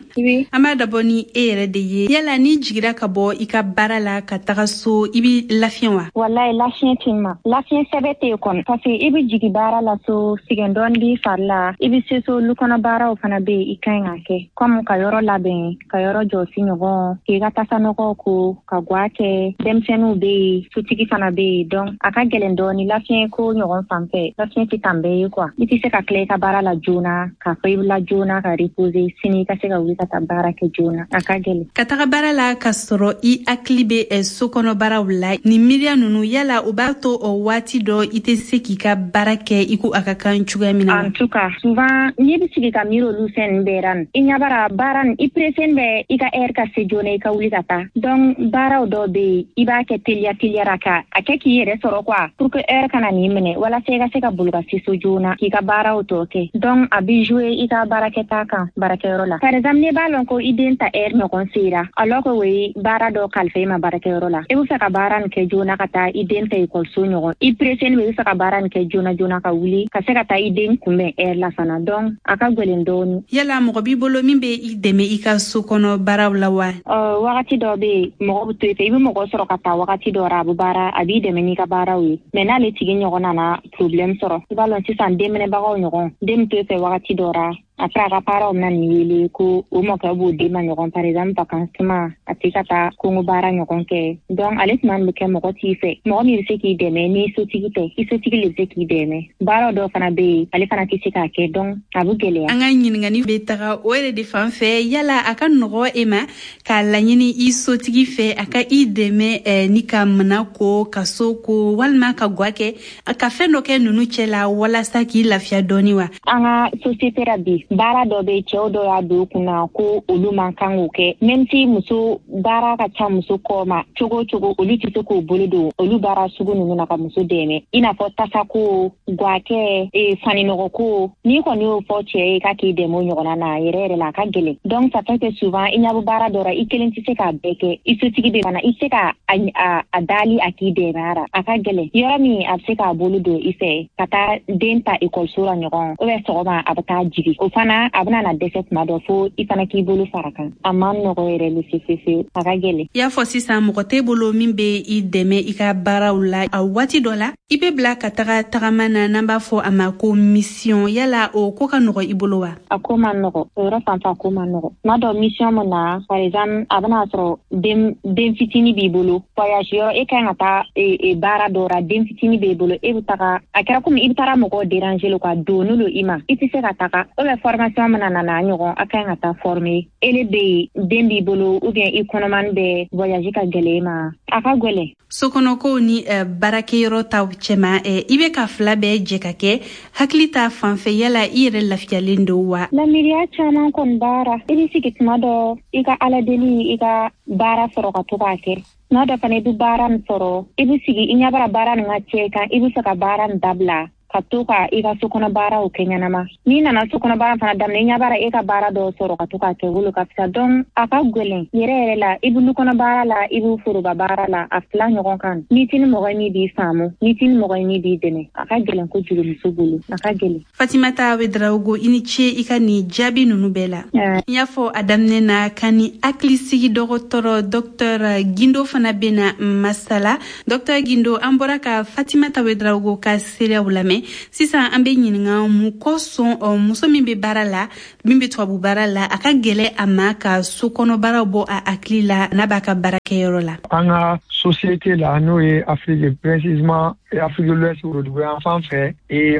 An b'a dabɔ ni e yɛrɛ de ye. Yala n'i jigira ka bɔ i ka baara la ka taga so, i bi lafiɲɛ wa? Wallahi, lafiɲɛ tɛ ma, lafiɲɛ sɛbɛ tɛ yen kɔni, parce que i bɛ jigi baara la so, sɛgɛn dɔɔni b'i fari la. I bɛ se so, lu kɔnɔ baaraw fana bɛ yen i ka ɲi ka kɛ, comme ka yɔrɔ labɛn, ka yɔrɔ jɔsi ɲɔgɔn, k'i ka tasanɔgɔw ko, ka gwa kɛ. Denmisɛnninw bɛ yen, sotigi fana bɛ yen, donc a ka gɛlɛn dɔɔni. Lafiɲɛ ko ɲɔgɔn fan fɛ, lafiɲɛ tɛ tan bɛɛ ye quoi. I tɛ se ka tila i ka baara la joona k'a fɔ i bɛ la joona ka reposer, sini i ka se ka wuli ka taa baara kɛ joona. A ka gɛlɛn. Ka taga baara la ka sɔrɔ i hakili bɛ so kɔnɔ baaraw la, nin miiriya ninnu, yala o b'a to o waati dɔ i tɛ se k'i ka baara kɛ i ko a ka kan cogoya min na? En tout cas, souvent n'i bɛ sigi ka miiri olu fɛn ninnu bɛɛ la, i ɲɛ bara baara nin, i pressé bɛ i ka heure ka se joona, i ka wuli ka taa. Donc baaraw dɔw bɛ yen, i b'a kɛ teliya teliyara ka a kɛ k'i yɛrɛ sɔrɔ quoi, pour que heure kana n'i minɛ, walasa i ka se ka boli ka se so joona k'i ka baaraw tɔ kɛ. Donc a bɛ jouer i ka baarakɛta kan baarakɛyɔrɔ la. Par exemple, n'i b'a lɔn ko i den ta heure ɲɔgɔn sera, alors que o ye baara dɔ kalifa i ma baarakɛyɔrɔ la, i bɛ fɛ ka baara nin kɛ joona ka taa i den ta ekɔliso ɲɔgɔn, i pressé bɛ, i bɛ fɛ ka baara nin kɛ joona joona ka wuli ka se ka taa i den kunbɛn heure la fana. Donc a ka gɛlɛn dɔɔni. Yala mɔgɔ b'i bolo min bɛ i dɛmɛ i ka so kɔnɔ baaraw la wa? Ɔ, wagati dɔ bɛ yen, mɔgɔ bɛ to i fɛ, i bɛ mɔgɔ sɔrɔ ka taa wagati dɔ la, a bɛ baara, a b'i dɛmɛ n'i ka baaraw ye. Mais n'ale tigi ɲɔgɔn nana problème sɔrɔ, i b'a lɔn sisan denminɛbagaw ɲɔgɔn, den bɛ to i fɛ wagati dɔ la, après a ka parents bɛna nin wele ko o mɔkɛ b'o den ma ɲɔgɔn. Par exemple, vacances tuma, a tɛ ka taa kongo baara ɲɔgɔn kɛ. Donc ale tuma bɛ kɛ mɔgɔ t'i fɛ, mɔgɔ min bɛ se k'i dɛmɛ n'i sotigi tɛ. I sotigi le bɛ se k'i dɛmɛ. Baara dɔw fana bɛ yen, ale fana tɛ se k'a kɛ, donc a bɛ gɛlɛya. An ka ɲininkali bɛ taga o yɛrɛ de fan fɛ. Yala a ka nɔgɔ e ma k'a laɲini i sotigi fɛ a ka i dɛmɛ eh, ni ka mana ko, ka so ko, walima ka gwa kɛ, ka fɛn dɔ kɛ ninnu cɛ la walasa k'i lafiya dɔɔni wa? An ka société la bi, baara dɔ bɛ, cɛw dɔ y'a don kunna ko olu man kan k'o kɛ, même si muso baara ka ca muso kɔ ma cogo o cogo, olu tɛ se k'o bolo don olu baara sugu ninnu na ka muso dɛmɛ, i n'a fɔ tasako, gwakɛ, e, faninɔgɔko. N'i kɔni y'o fɔ cɛ ye k'a k'i dɛmɛ o ɲɔgɔnna na, yɛrɛ yɛrɛ la, a ka gɛlɛn. Donc ça fait que souvent i ɲɛ bɛ baara dɔ la, i kelen tɛ se k'a bɛɛ kɛ. I sotigi bɛ fana, i tɛ se ka a, a, a dali a k'i dɛmɛ a la. A ka gɛlɛn. Yɔrɔ min a bɛ se k'a bolo don i fɛ ka taa den ta ekɔliso la ɲɔgɔn, ou bien sɔgɔma a bɛ taa jigi, o fana a bɛna na dɛsɛ tuma dɔ fo i fana k'i bolo fara kan. A man nɔgɔ yɛrɛ le fefefe, a ka gɛlɛn. I y'a fɔ sisan mɔgɔ t'e bolo min bɛ i dɛmɛ i ka baaraw la. A waati dɔ la, i bɛ bila ka taga tagama na, n'an b'a fɔ a ma ko mission. Yala o ko ka nɔgɔ i bolo wa? A ko man nɔgɔ o yɔrɔ fan fɛ, a ko man nɔgɔ. Tuma dɔ mission min na, par exemple, a bɛna sɔrɔ den den fitini b'i bolo, voyage yɔrɔ, e kan ka taa e, e, baara dɔ la, den fitini b'e bolo, e bɛ taga, a kɛra komi i bɛ taara mɔgɔw déranger le quoi, doni lo i ma, i tɛ se ka taga. Ou bien formation mana na na ɲɔgɔn, a kan ka taa former, ele bɛ yen, den b'i bolo, ou bien i kɔnɔmani bɛ, voyage ka gɛlɛn i ma, a ka gɛlɛn. Sokɔnɔkow ni uh, baarakɛyɔrɔ taw cɛma, uh, i bɛ ka fila bɛɛ jɛ ka kɛ, hakili ta fan fɛ, yala i yɛrɛ lafiyalen don wa? Lamiriya caman kɔni baara, i bɛ sigi tuma dɔ, i ka ala deli i ka baara sɔrɔ ka to k'a kɛ. Tuma dɔ fana, i bɛ baara nin sɔrɔ, i bɛ sigi, i ɲɛ bara baara nin ka cɛ kan, i bɛ fɛ ka baara nin dabila ka to ka i ka sokɔnɔ baaraw kɛ ɲɛnama. N'i nana sokɔnɔ baara fana daminɛ, i ɲɛ bara e ka baara dɔw sɔrɔ ka to k'a kɛ, wolo ka fisa. Donc a ka gɛlɛn yɛrɛ yɛrɛ la. I bɛ lukɔnɔ baara la, i bɛ foroba baara la, a fila ɲɔgɔn kan. N'i ti ni mɔgɔ ye min b'i faamu, n'i ti ni mɔgɔ ye min b'i dɛmɛ, a ka gɛlɛn kojugu muso bolo, a ka gɛlɛn. Fatimata Ouédraogo, i ni ce i ka nin jaabi ninnu bɛɛ la. N y'a fɔ a daminɛ na ka ni hakilisigi dɔgɔtɔrɔ Docteur Gindo fana bena masala. Docteur Gindo, an bɔra ka Fatimata Ouédraogo ka seereyaw lamɛn. lamɛn. Sisan an bɛ ɲininka mun kosɔn muso min bɛ baara la, min bɛ tubabu baara la, a ka gɛlɛ a ma ka sokɔnɔ baaraw bɔ a hakili la n'a b'a ka baarakɛyɔrɔ la. An ka société la, n'o ye Afrique, précisément Afrique de l'Ouest, worodugu fan fɛ,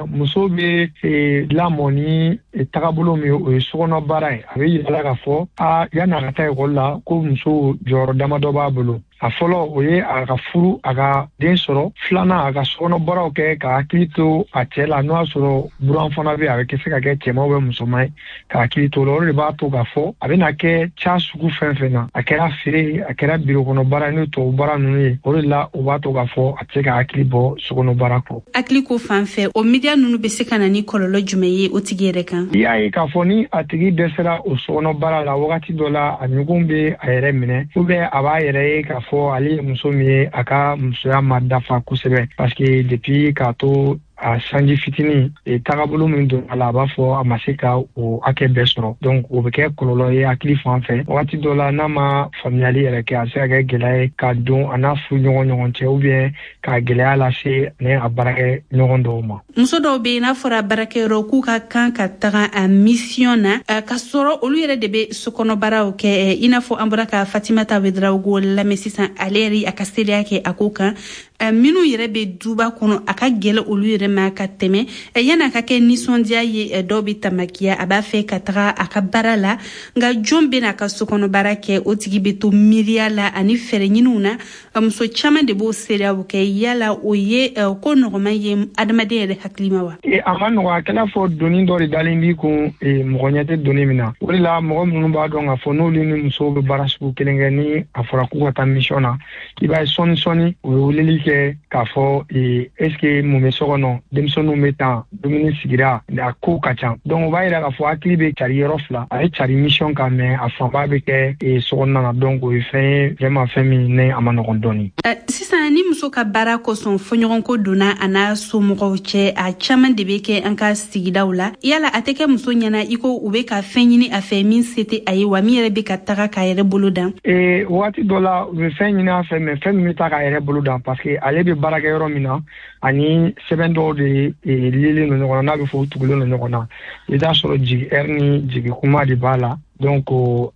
muso bɛ lamɔ ni tagabolo min ye, o ye sokɔnɔ baara ye. A bɛ yira la k'a fɔ a yanni a ka taa ekɔli la, ko muso jɔyɔrɔ damadɔ b'a bolo. A fɔlɔ, o ye a ka furu, a ka den sɔrɔ. Filanan, a ka sokɔnɔ baaraw kɛ, ka hakili to a cɛ la, n'o y'a sɔrɔ buran fana bɛ, a bɛ se ka kɛ cɛman bɛ musoman ye, ka hakili to o la. O de b'a to k'a fɔ a bɛna kɛ ca sugu fɛn fɛn na, a kɛra feere, a kɛra biro kɔnɔ baara, n'o tubabu baara ninnu ye, o de la o b'a to k'a fɔ a tɛ se ka hakili bɔ sokɔnɔ baara kɔ. Hakili ko fan fɛ, o miiriya ninnu bɛ se ka na ni kɔlɔlɔ jumɛn ye o tigi yɛrɛ kan? I y'a ye k'a fɔ ni a tigi dɛsɛra o sokɔnɔ baara la, wagati dɔ la a ɲugun bɛ a yɛrɛ minɛ, ou bien a b'a yɛrɛ ye k'a fɔ ale ye muso min ye, a ka musoya ma dafa kosɛbɛ, parce que depuis k'a to a sanji fitinin, tagabolo min don a la, a b'a fɔ a ma se ka o hakɛ bɛɛ sɔrɔ. Donc o bɛ kɛ kɔlɔlɔ ye hakili fan fɛ. Wagati dɔ la, n'a ma faamuyali yɛrɛ kɛ, a bɛ se ka kɛ gɛlɛya ye ka don a n'a furu ɲɔgɔn ɲɔgɔn cɛ, ou bien ka gɛlɛya lase ani a baarakɛ ɲɔgɔn dɔw ma. Muso dɔw bɛ yen, n'a fɔra baarakɛyɔrɔ k'u ka kan ka taga a mission na, ka sɔrɔ olu yɛrɛ de bɛ sokɔnɔbaaraw kɛ, i n'a fɔ an bɔra ka Fatimata Ouédraogo lamɛn sisan, ale yɛrɛ a ka seereya kɛ a ko kan. Minnu yɛrɛ bɛ duba kɔnɔ, a ka gɛlɛ olu yɛrɛ ma ka tɛmɛ. Yanni a ka kɛ nisɔndiya ye, dɔw bɛ tamakiya, a b'a fɛ ka taga a ka baara la, nka jɔn bɛ n'a ka sokɔnɔ baara kɛ? O tigi bɛ to miiriya la ani fɛɛrɛ ɲiniw na. Muso caman de b'o seereyaw kɛ. Yala o ye ko nɔgɔman ye adamaden yɛrɛ hakili ma wa? A ma nɔgɔ. A kɛla fɔ doni dɔ de dalen b'i kun, mɔgɔ ɲɛ tɛ doni min na. O de la mɔgɔ minnu b'a dɔn k'a fɔ n'olu ni musow bɛ baara sugu kelen kɛ, ni a fɔra k'u ka taa mission na, i b'a ye sɔɔni sɔɔni u bɛ weleli kɛ k'a fɔ est ce que mun bɛ so kɔnɔ, denmisɛnninw bɛ tan, dumuni sigira, a ko ka ca. Donc o b'a yira k'a fɔ hakili bɛ cari yɔrɔ fila, a ye cari mission kan, mais a fanba bɛ kɛ sokɔnɔna na. Donc o ye fɛn ye vraiment, fɛn min ne a ma nɔgɔn dɔɔni. Sisan, ni muso ka baara kosɔn fɔɲɔgɔnko donna a n'a somɔgɔw cɛ, a caman de bɛ kɛ an ka sigidaw la, yala a tɛ kɛ muso ɲɛna i ko u bɛ ka fɛn ɲini a fɛ min se tɛ a ye wa, min yɛrɛ bɛ ka taga k'a yɛrɛ bolo dan? Ee, waati dɔ la u bɛ fɛn ɲini a fɛ, mais fɛn min bɛ taa k'a yɛrɛ bolo dan, parce que ale bɛ baarakɛ yɔrɔ min na, ani sɛbɛn dɔw de lielen don ɲɔgɔn na, n'a bɛ fɔ u tugulen don ɲɔgɔn na, i t'a sɔrɔ jigi ɛri ni jigi kuma de b'a la. Donc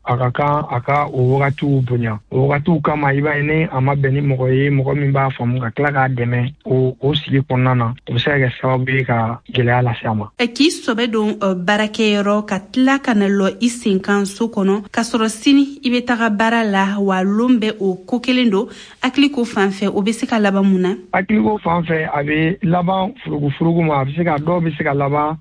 a ka kan a ka o wagatiw bonya. O wagatiw kama, i b'a ye ni a ma bɛn ni mɔgɔ ye, mɔgɔ min b'a faamu ka tila k'a dɛmɛ o o sigi kɔnɔna na, o bɛ se ka kɛ sababu ye ka gɛlɛya lase a ma. K'i sɔbɛ don baarakɛyɔrɔ, ka tila ka na lɔ i sen kan so kɔnɔ, k'a sɔrɔ sini i bɛ taga baara la, wa lon bɛ o ko kelen don, hakili ko fan fɛ, o bɛ se ka laban mun na? Hakiliko fan fɛ, a bɛ laban furugufurugu ma. A bɛ se ka dɔw bɛ se ka laban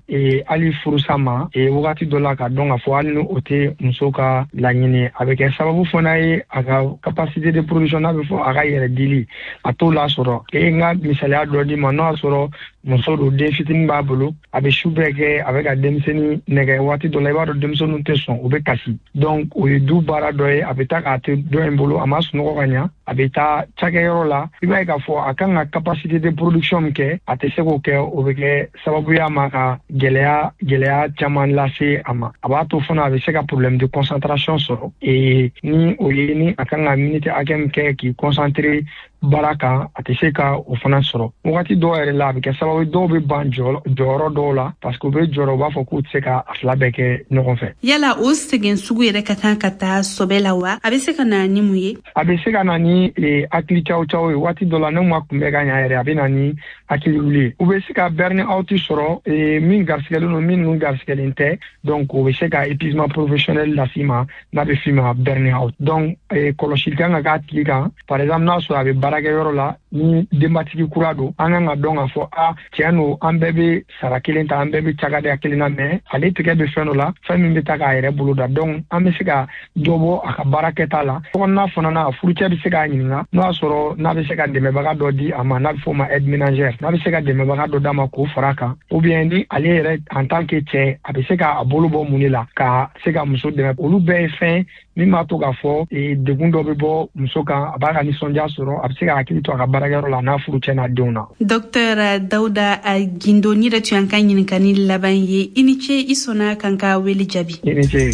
hali furusa ma wagati dɔ la, ka dɔn k'a fɔ hali ni o tɛ muso ka laɲini, a bɛ kɛ sababu fana ye a ka capacité de production, n'a bɛ fɔ a ka yɛrɛ dili, a t'o lasɔrɔ. E n ka misaliya dɔ d'i ma, n'o y'a sɔrɔ muso don, den fitinin b'a bolo, a bɛ su bɛɛ kɛ a bɛ ka denmisɛnnin nɛgɛ. Waati dɔ la, i b'a dɔn denmisɛnninw tɛ sɔn, u bɛ kasi. Donc o ye du baara dɔ ye, a bɛ taa k'a to dɔ in bolo, a ma sunɔgɔ ka ɲa, a bɛ taa cakɛyɔrɔ la, i b'a ye k'a fɔ a kan ka capacité de production min kɛ, a tɛ se k'o kɛ. O bɛ kɛ sababu ye a ma ka gɛlɛya gɛlɛya caman lase a ma. A b'a to fana a bɛ se ka problème de concentration sɔrɔ, ee ni o ye ni a kan ka minute hakɛ min kɛ k'i concentrer baara kan, a tɛ se ka o fana sɔrɔ. Wagati dɔw yɛrɛ la, a bɛ kɛ sababu ye dɔw bɛ ban jɔyɔrɔ dɔw la, parce que u bɛ jɔrɔ, u b'a fɔ k'u tɛ se ka a fila bɛɛ kɛ ɲɔgɔn fɛ. Yala o sɛgɛn sugu yɛrɛ ka kan ka taa sɔbɛ la wa? A bɛ se ka na ni mun ye? A bɛ se ka na ni hakili caw caw ye. Waati dɔ la, n'u ma kunbɛ ka ɲa yɛrɛ, a bɛ na ni hakili wuli ye. U bɛ se ka burn out sɔrɔ, min garisigɛlen don, min garisigɛlen tɛ. Donc o bɛ se ka épuisement professionnel las'i ma, n'a bɛ f'i ma burn out. Donc kɔlɔsili kan ka k'a tigi kan. Par exemple, n'a sɔrɔ a bɛ baarakɛyɔrɔ la, ni denbatigi kura don, an kan ka dɔn k'a fɔ a tiɲɛ don, an bɛɛ bɛ sara kelen ta, an bɛɛ bɛ cakadenya kelen na, mais ale tigɛ bɛ fɛn dɔ la, fɛn min bɛ taa k'a yɛrɛ bolo da. Donc an bɛ se ka dɔ bɔ a ka baara kɛta la. Sokɔnɔna fana na, a furucɛ bɛ se k'a ɲininka n'o y'a sɔrɔ n'a bɛ se ka dɛmɛbaga dɔ di a ma, n'a bɛ f'o ma aide ménagère, n'a bɛ se ka dɛmɛbaga dɔ d'a ma k'o fara a kan, ou bien ni ale yɛrɛ en tant que cɛ, a bɛ se k'a bolo bɔ mun de la ka se ka muso dɛmɛ. Olu bɛɛ ye fɛn min b'a to k'a fɔ degun dɔ bɛ bɔ muso kan, a b'a ka nisɔndiya sɔrɔ, a bɛ se ka hakili to a ka baarakɛyɔrɔ la, n'a furucɛ n'a denw na. Docteur Dawuda Gindo, ni yɛrɛ tun y'an ka ɲininkali laban ye. I ni ce, i sɔnna k'an ka wele jaabi. I ni ce.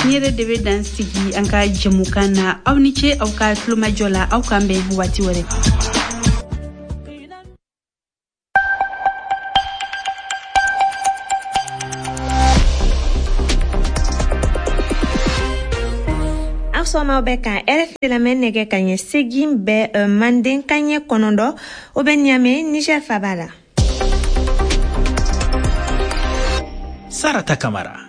Ni yɛrɛ de bɛ dan sigi an ka jɛmukan na. Aw ni ce aw ka tulomajɔ la. Aw k'an bɛn waati wɛrɛ. Sɔgɔma, bɛ ka R F I lamɛn. Nɛgɛ ka ɲɛ segin bɛ manden ka ɲɛ kɔnɔntɔn, o bɛ Ɲame, Niger faba la. Sarata Kamara.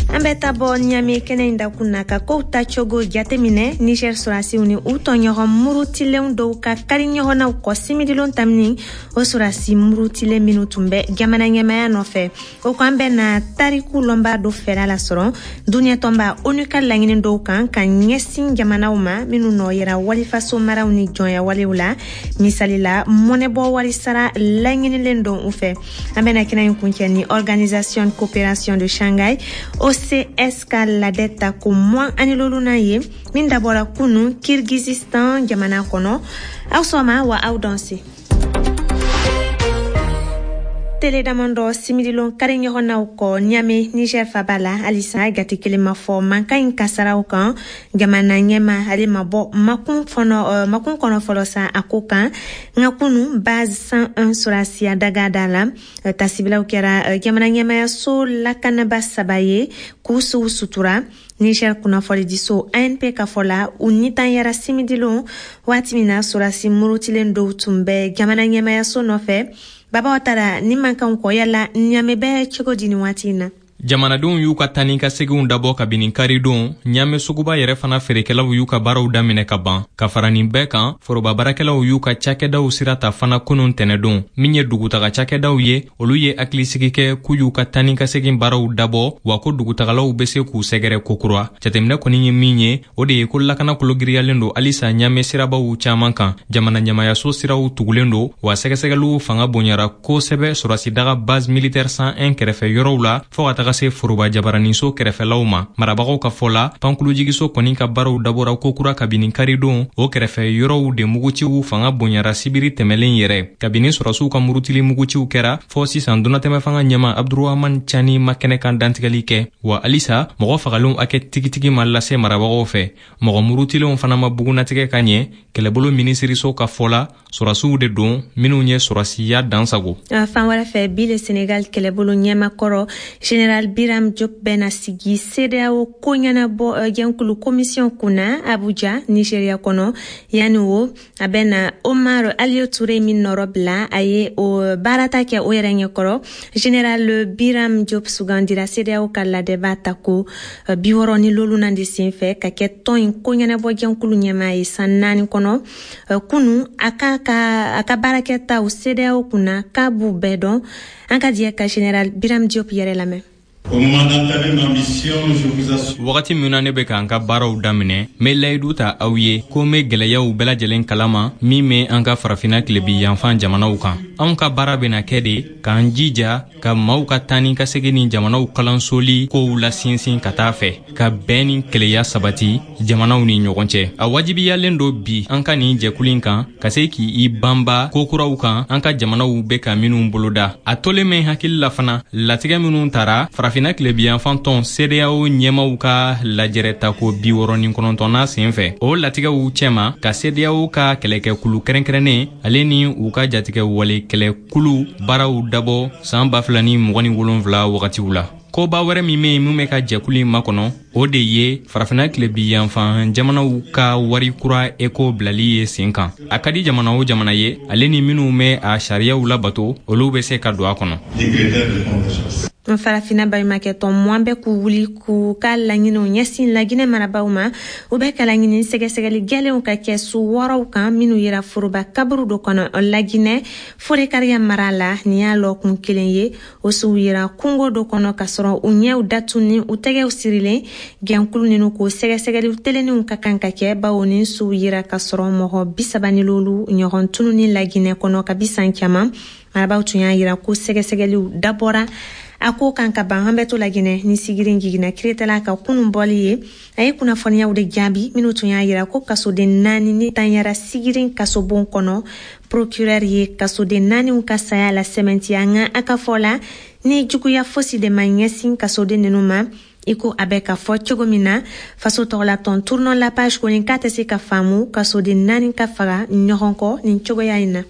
An bɛ taa bɔ Ɲame kɛnɛ in dakun na ka kow tacogo jateminɛ. Niger sɔrɔdasiw ni u tɔɲɔgɔn murutilenw dɔw ka kari ɲɔgɔnnaw kɔ simidilon tamini, o sɔrɔdasi murutilen minnu tun bɛ jamana ɲɛmaya nɔfɛ, o ko an bɛ na tariku lɔnba dɔ fɛla lasɔrɔ duniɲɛ tɔnba ONU ka laɲini dɔw kan ka ɲɛsin jamanaw ma minnu nɔ yera walifaso maraw ni jɔnya walew la, misali la mɔnɛbɔ wari sara laɲinilen don u fɛ. An bɛna kɛnɛ in kuncɛ ni Organisation Coopération de Shanghai, O C S ka ladɛ ta ko mugan ani lolunan ye min dabɔra kunu Kirgizistan jamana kɔnɔ. Aw sɔgɔma wa, aw danse. Tele damadɔ simidilon kari ɲɔgɔnnaw kɔ Ɲame, Niger faba la, halisa jate kelen ma fɔ mankan in kasaraw kan. Jamana ɲɛma, ale ma bɔ makun fɔnɔ makun kɔnɔ fɔlɔ sa a ko kan. Nka kunu, base cent un sɔrɔdasiya daga da la, tasibilaw kɛra jamana ɲɛmayaso lakanaba saba ye k'u suw sutura. Niger kunnafonidiso A N P ka fɔ la, u nitanyara simidilon waati min na sɔrɔdasi murutilen dɔw tun bɛ jamana ɲɛmayaso nɔfɛ. Baba taara ni mankanw kɔ, yala Ɲame bɛ cogo di nin waati in na? Jamanadenw y'u ka taa ni ka seginw dabɔ kabini karidon. Ɲame suguba yɛrɛ fana feerekɛlaw y'u ka baaraw daminɛ ka ban. Ka fara nin bɛɛ kan, foroba baarakɛlaw y'u ka cakɛdaw sira ta fana kunun tɛnɛdon. Min ye dugutaga cakɛdaw ye, olu ye hakilisigi kɛ k'u y'u ka taa ni ka segin baaraw dabɔ, wa ko dugutagalaw be se k'u sɛgɛrɛ kokura. Jateminɛ kɔni ye min ye, o de ye ko lakana kologiriyalen don halisa Ɲame sirabaw caaman kan. Jamana ɲamayaso siraw tugulen don, wa sɛgɛsɛgɛliw fanga bonyara kosɛbɛ sɔrɔsidaga base militaire cent un kɛrɛfɛ yɔrɔw la, fɔɔ ka taga se foroba jabaraninso kɛrɛfɛlaw ma. Marabagaw ka fɔ la, pankulujigiso kɔni ka baaraw dabɔra kokura kabini karidon. O kɛrɛfɛ yɔrɔw de muguciw fanga bonyara sibiri tɛmɛlen yɛrɛ. Kabini sɔrɔsiw ka murutili muguciw kɛra fɔɔ sisan, donatɛmɛ fanga ɲɛma Abdurahaman Cani ma kɛnɛ kan dantigɛli kɛ, wa halisa mɔgɔ fagalenw hakɛ tigitigi ma lase marabagaw fɛ. Mɔgɔ murutilenw fana ma bugunatigɛ ka ɲɛ. Kɛlɛbolo minisiriso ka fɔ la, sɔrɔsiw de don minw ye sɔrɔsiya dansago. Fan wɛrɛ fɛ bi le, Senegal kɛlɛbolo ɲɛmakɔrɔ général Biram Diop bɛna sigi CEDEAO ko ɲɛnabɔ jɛnkulu commission kunna Abuja, Nigeria kɔnɔ. Yanni o, a bɛna Omar Aliou Touré min nɔrɔ bila, a ye o baarata kɛ o yɛrɛ ɲɛkɔrɔ. Général Biram Diop sugandira CEDEAO ka ladɛba ta ko bi wɔɔrɔ ni lolunan de sen fɛ ka kɛ tɔn in ko ɲɛnabɔ jɛnkulu ɲɛmaa ye san naani kɔnɔ. Kunu, a ka ka a ka baarakɛtaw CEDEAO kunna k'a b'u bɛɛ dɔn. An ka jɛ ka général Biram Diop yɛrɛ lamɛn. Wagati min na ne bɛ k'an ka baaraw daminɛ, n bɛ layidu ta aw ye ko n bɛ gwɛlɛyaw bɛɛ lajɛlen kalama min bɛ an ka Farafina tilebi yanfan jamanaw kan. Anw ka baara bɛna kɛ de k'an jija ka maaw ka taa ni ka segin ni jamanaw kalansoli kow lasinsin ka taa fɛ, ka bɛn ni keleya sabati jamanaw ni ɲɔgɔn cɛ. A wajibiyalen don bi an ka nin jɛkulu in kan ka se k'i banba kokuraw kan an ka jamanaw bɛ ka minw boloda. A tolen bɛ hakili la fana, latigɛ minw tara Farafina tilebiyanfan tɔn CEDEAO ɲɛmaw ka lajɛrɛ tako bi wɔɔrɔ ni kɔnɔntɔnna sen fɛ, o latigɛw cɛma ka CEDEAO ka kɛlɛkɛkulu kɛrɛnkɛrɛnnen, ale ni u ka jatigɛ wale kɛlɛkulu baaraw dabɔ saan ba fila ni mugan ni wolonfila wagatiw la. Koba wɛrɛ min be yen min bɛ ka jɛkulu in makɔnɔ, o de ye Farafina tilebi yanfan jamanaw ka wari kura eko bilali ye sen kan. A ka di jamana o jamana ye, ale ni minw bɛ a sariyaw labato, olu bɛ se ka don a kɔnɔ. Farafina baɲumakɛ tɔn mugan bɛ k'u wuli k'u ka laɲiniw ɲɛsin Laginɛ marabaw ma. U bɛ ka laɲini sɛgɛsɛgɛli gwɛlɛnw ka kɛ su wɔɔrɔw kan minnu yera foroba kaburu dɔ kɔnɔ Laginɛ Forekariya mara la. Nin y'a lɔkun kelen ye. O suw yera kungo dɔ kɔnɔ ka sɔrɔ u ɲɛw datuni, u tɛgɛw sirilen. Gɛnkulu ninu k'o sɛgɛsɛgɛli telenninw ka kan ka kɛ, bawo nin suw yera ka sɔrɔ mɔgɔ bisaba ni lolu ɲɔgɔn tununi Laginɛ kɔnɔ kabi san caman. Marabaw tun y'a yira ko sɛgɛsɛgɛliw dabɔra a ko kan ka ban. An bɛ to Laginɛ ni sigirin jiginna kiretala ka kunun bɔli ye. A ye kunnafoniyaw de jaabi minnu tun y'a yira ko kasoden naani ni tanyara sigirin kasobon kɔnɔ. Procureur ye kasoden naaniw ka saya la sɛmɛntiya, nka a ka fɔ la, ni juguya fosi de ma ɲɛsin kasoden ninnu ma i ko a bɛ ka fɔ cogo min na. Faso tɔgɔlatɔn Tournons la page kɔni k'a tɛ se ka faamu kasoden naani ka faga ɲɔgɔn kɔ nin cogoya in na.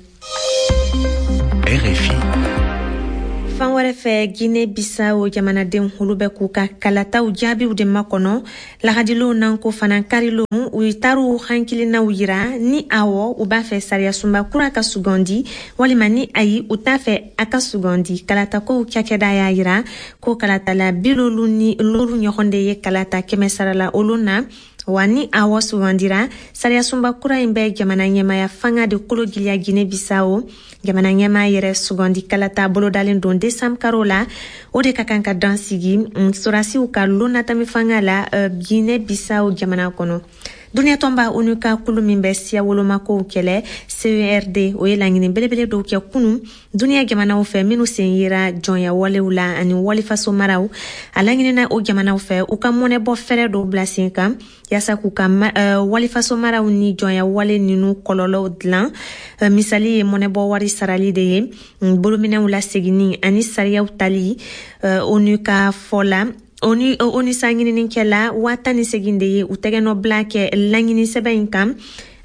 R F I. Fan wɛrɛ fɛ, Guinée Bissau jamanadenw, olu bɛ k'u ka kalataw jaabiw de makɔnɔ lahadilon nan ko fana karilon. U taar'u hankilinaw yira ni awɔ, u b'a fɛ sariyasunba kura ka sugandi, walima ni ayi, u t'a fɛ a ka sugandi. Kalatakow cakɛda y'a yira ko kalatala bilolu ni loru ɲɔgɔn de ye kalata kɛmɛ sarala olu na. Wa ni awɔ sugandira, sariyasunba kura in bɛ jamana ɲɛmaya fanga de kolo giliya Guinée Bissau. Jamana ɲɛmaa yɛrɛ sugandi kalata bolodalen don desanburu karo la, o de ka kan ka dan sigi sɔrɔdasiw ka lonatami fanga la Guinée Bissau jamana kɔnɔ. Duniya tɔnba ONU ka kulu min bɛ siya wolomakow kɛlɛ, C E R D, o ye laɲini belebele dɔw kɛ kunu duniya jamanaw fɛ minnu sen yera jɔnya walew la ani walifaso maraw. A laɲinina o jamanaw fɛ u ka mɔnɛbɔ fɛɛrɛ dɔw bila sen kan yaasa k'u ka uh, walifaso maraw ni jɔnya wale ninu kɔlɔlɔw dilan. uh, misali ye mɔnɛbɔ wari sarali de ye, bolominɛw laseginni ani sariyaw tali. uh, ONU ka fɔ la, ONU ONU sa ɲininikɛla waa tan ni segin de ye u tɛgɛnɔ bila kɛ laɲini sɛbɛn in kan.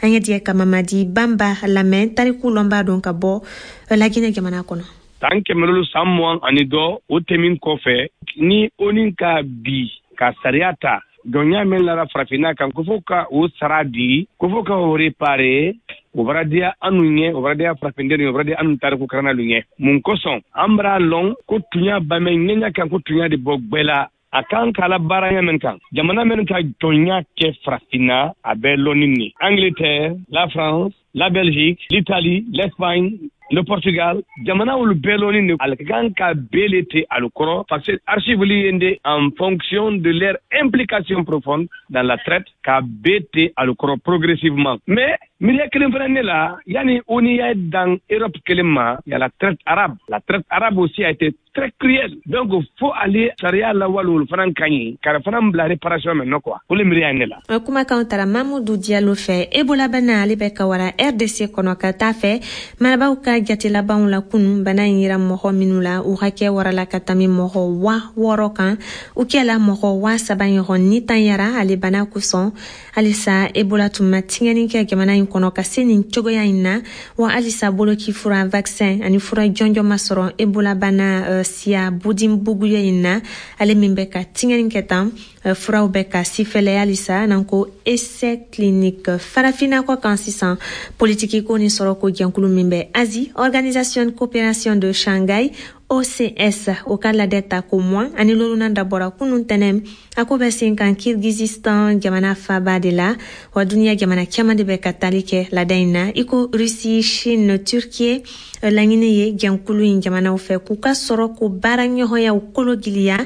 An ye diɲɛ ka Mamadi Banba lamɛn, tariku lɔnbaa don ka bɔ Laginɛ jamana kɔnɔ. San kɛmɛ lolu san mugan ani dɔ, o tɛmin kɔfɛ, ni ONU ka bi ka sariya ta, jɔnya min lara farafinna kan, ko fo ka o sara di, ko fo ka o réparer, o bara diya anu ɲɛ, o bara diya farafinden ye, o bara diya anu tariku karannalu ɲɛ. Mun kosɔn an bara lɔn ko tunya bamɛ ɲɛɲa kan, ko tunya de bɔ gbɛ la, a kan k'a la baara ɲɛ min kan, jamana min ka jɔnya kɛ farafinna, a bɛ lɔnni ni Angleterre, la France, la Belgique, l'Italie, l'Espagne, le Portugal, jamana olu bɛɛ lɔnni de ale ka kan ka bɛɛ te alu kɔrɔ, parce que archive li de en fonction de leur implication profonde dans la traite, ka bɛɛ te alu kɔrɔ progressivement. Mais miiriya kelen fana ne la, yani ONU y'a dan Europe kelen ma, y a la traite arabe. La traite arabe aussi a été très cruelle, donc fo ale sariya lawale olu fana ka ɲi ka fana bila réparation mɛ nɔ quoi, o le miiriya ye ne la. Kumakanw tara Mamudu Diallo fɛ. Ebola bana, ale bɛ ka wara R D C kɔnɔ ka taa fɛ. Marabaw ka jate labanw la kunu, bana in yira mɔgɔ minnu la, u hakɛ warala ka tami mɔgɔ wa wɔɔrɔ kan. U kɛla mɔgɔ wa saba ɲɔgɔn ni tan yara ale bana kosɔn. Halisa Ebola tun ma tiɲɛni kɛ jamana in kɔnɔ ka se nin cogoya in na. Wa halisa boloki fura, vaccin ani fura jɔnjɔn ma sɔrɔ Ebola bana uh, siya Bundibugyo in na, ale min bɛ ka tiɲɛni kɛ tan. uh, furaw bɛ ka sifɛlɛ halisa n'an ko essai clinique. Farafinna kɔ kan sisan, politiki ko ni sɔrɔ ko jɛnkulu min bɛ Asie, Organisation Coopération de Shanghai, O C S, o ka ladɛ ta ko mugan ani lolunan dabɔra kunun tɛnɛ. A ko bɛ sen kan Kirgizistan jamana faba de la. Wa duniya jamana caman de bɛ ka tali kɛ lada in na, i ko Russie, Chine, Turquie. Laɲini ye jɛnkulu in jamanaw fɛ k'u ka sɔrɔ ko baara ɲɔgɔnyaw kolo giliya.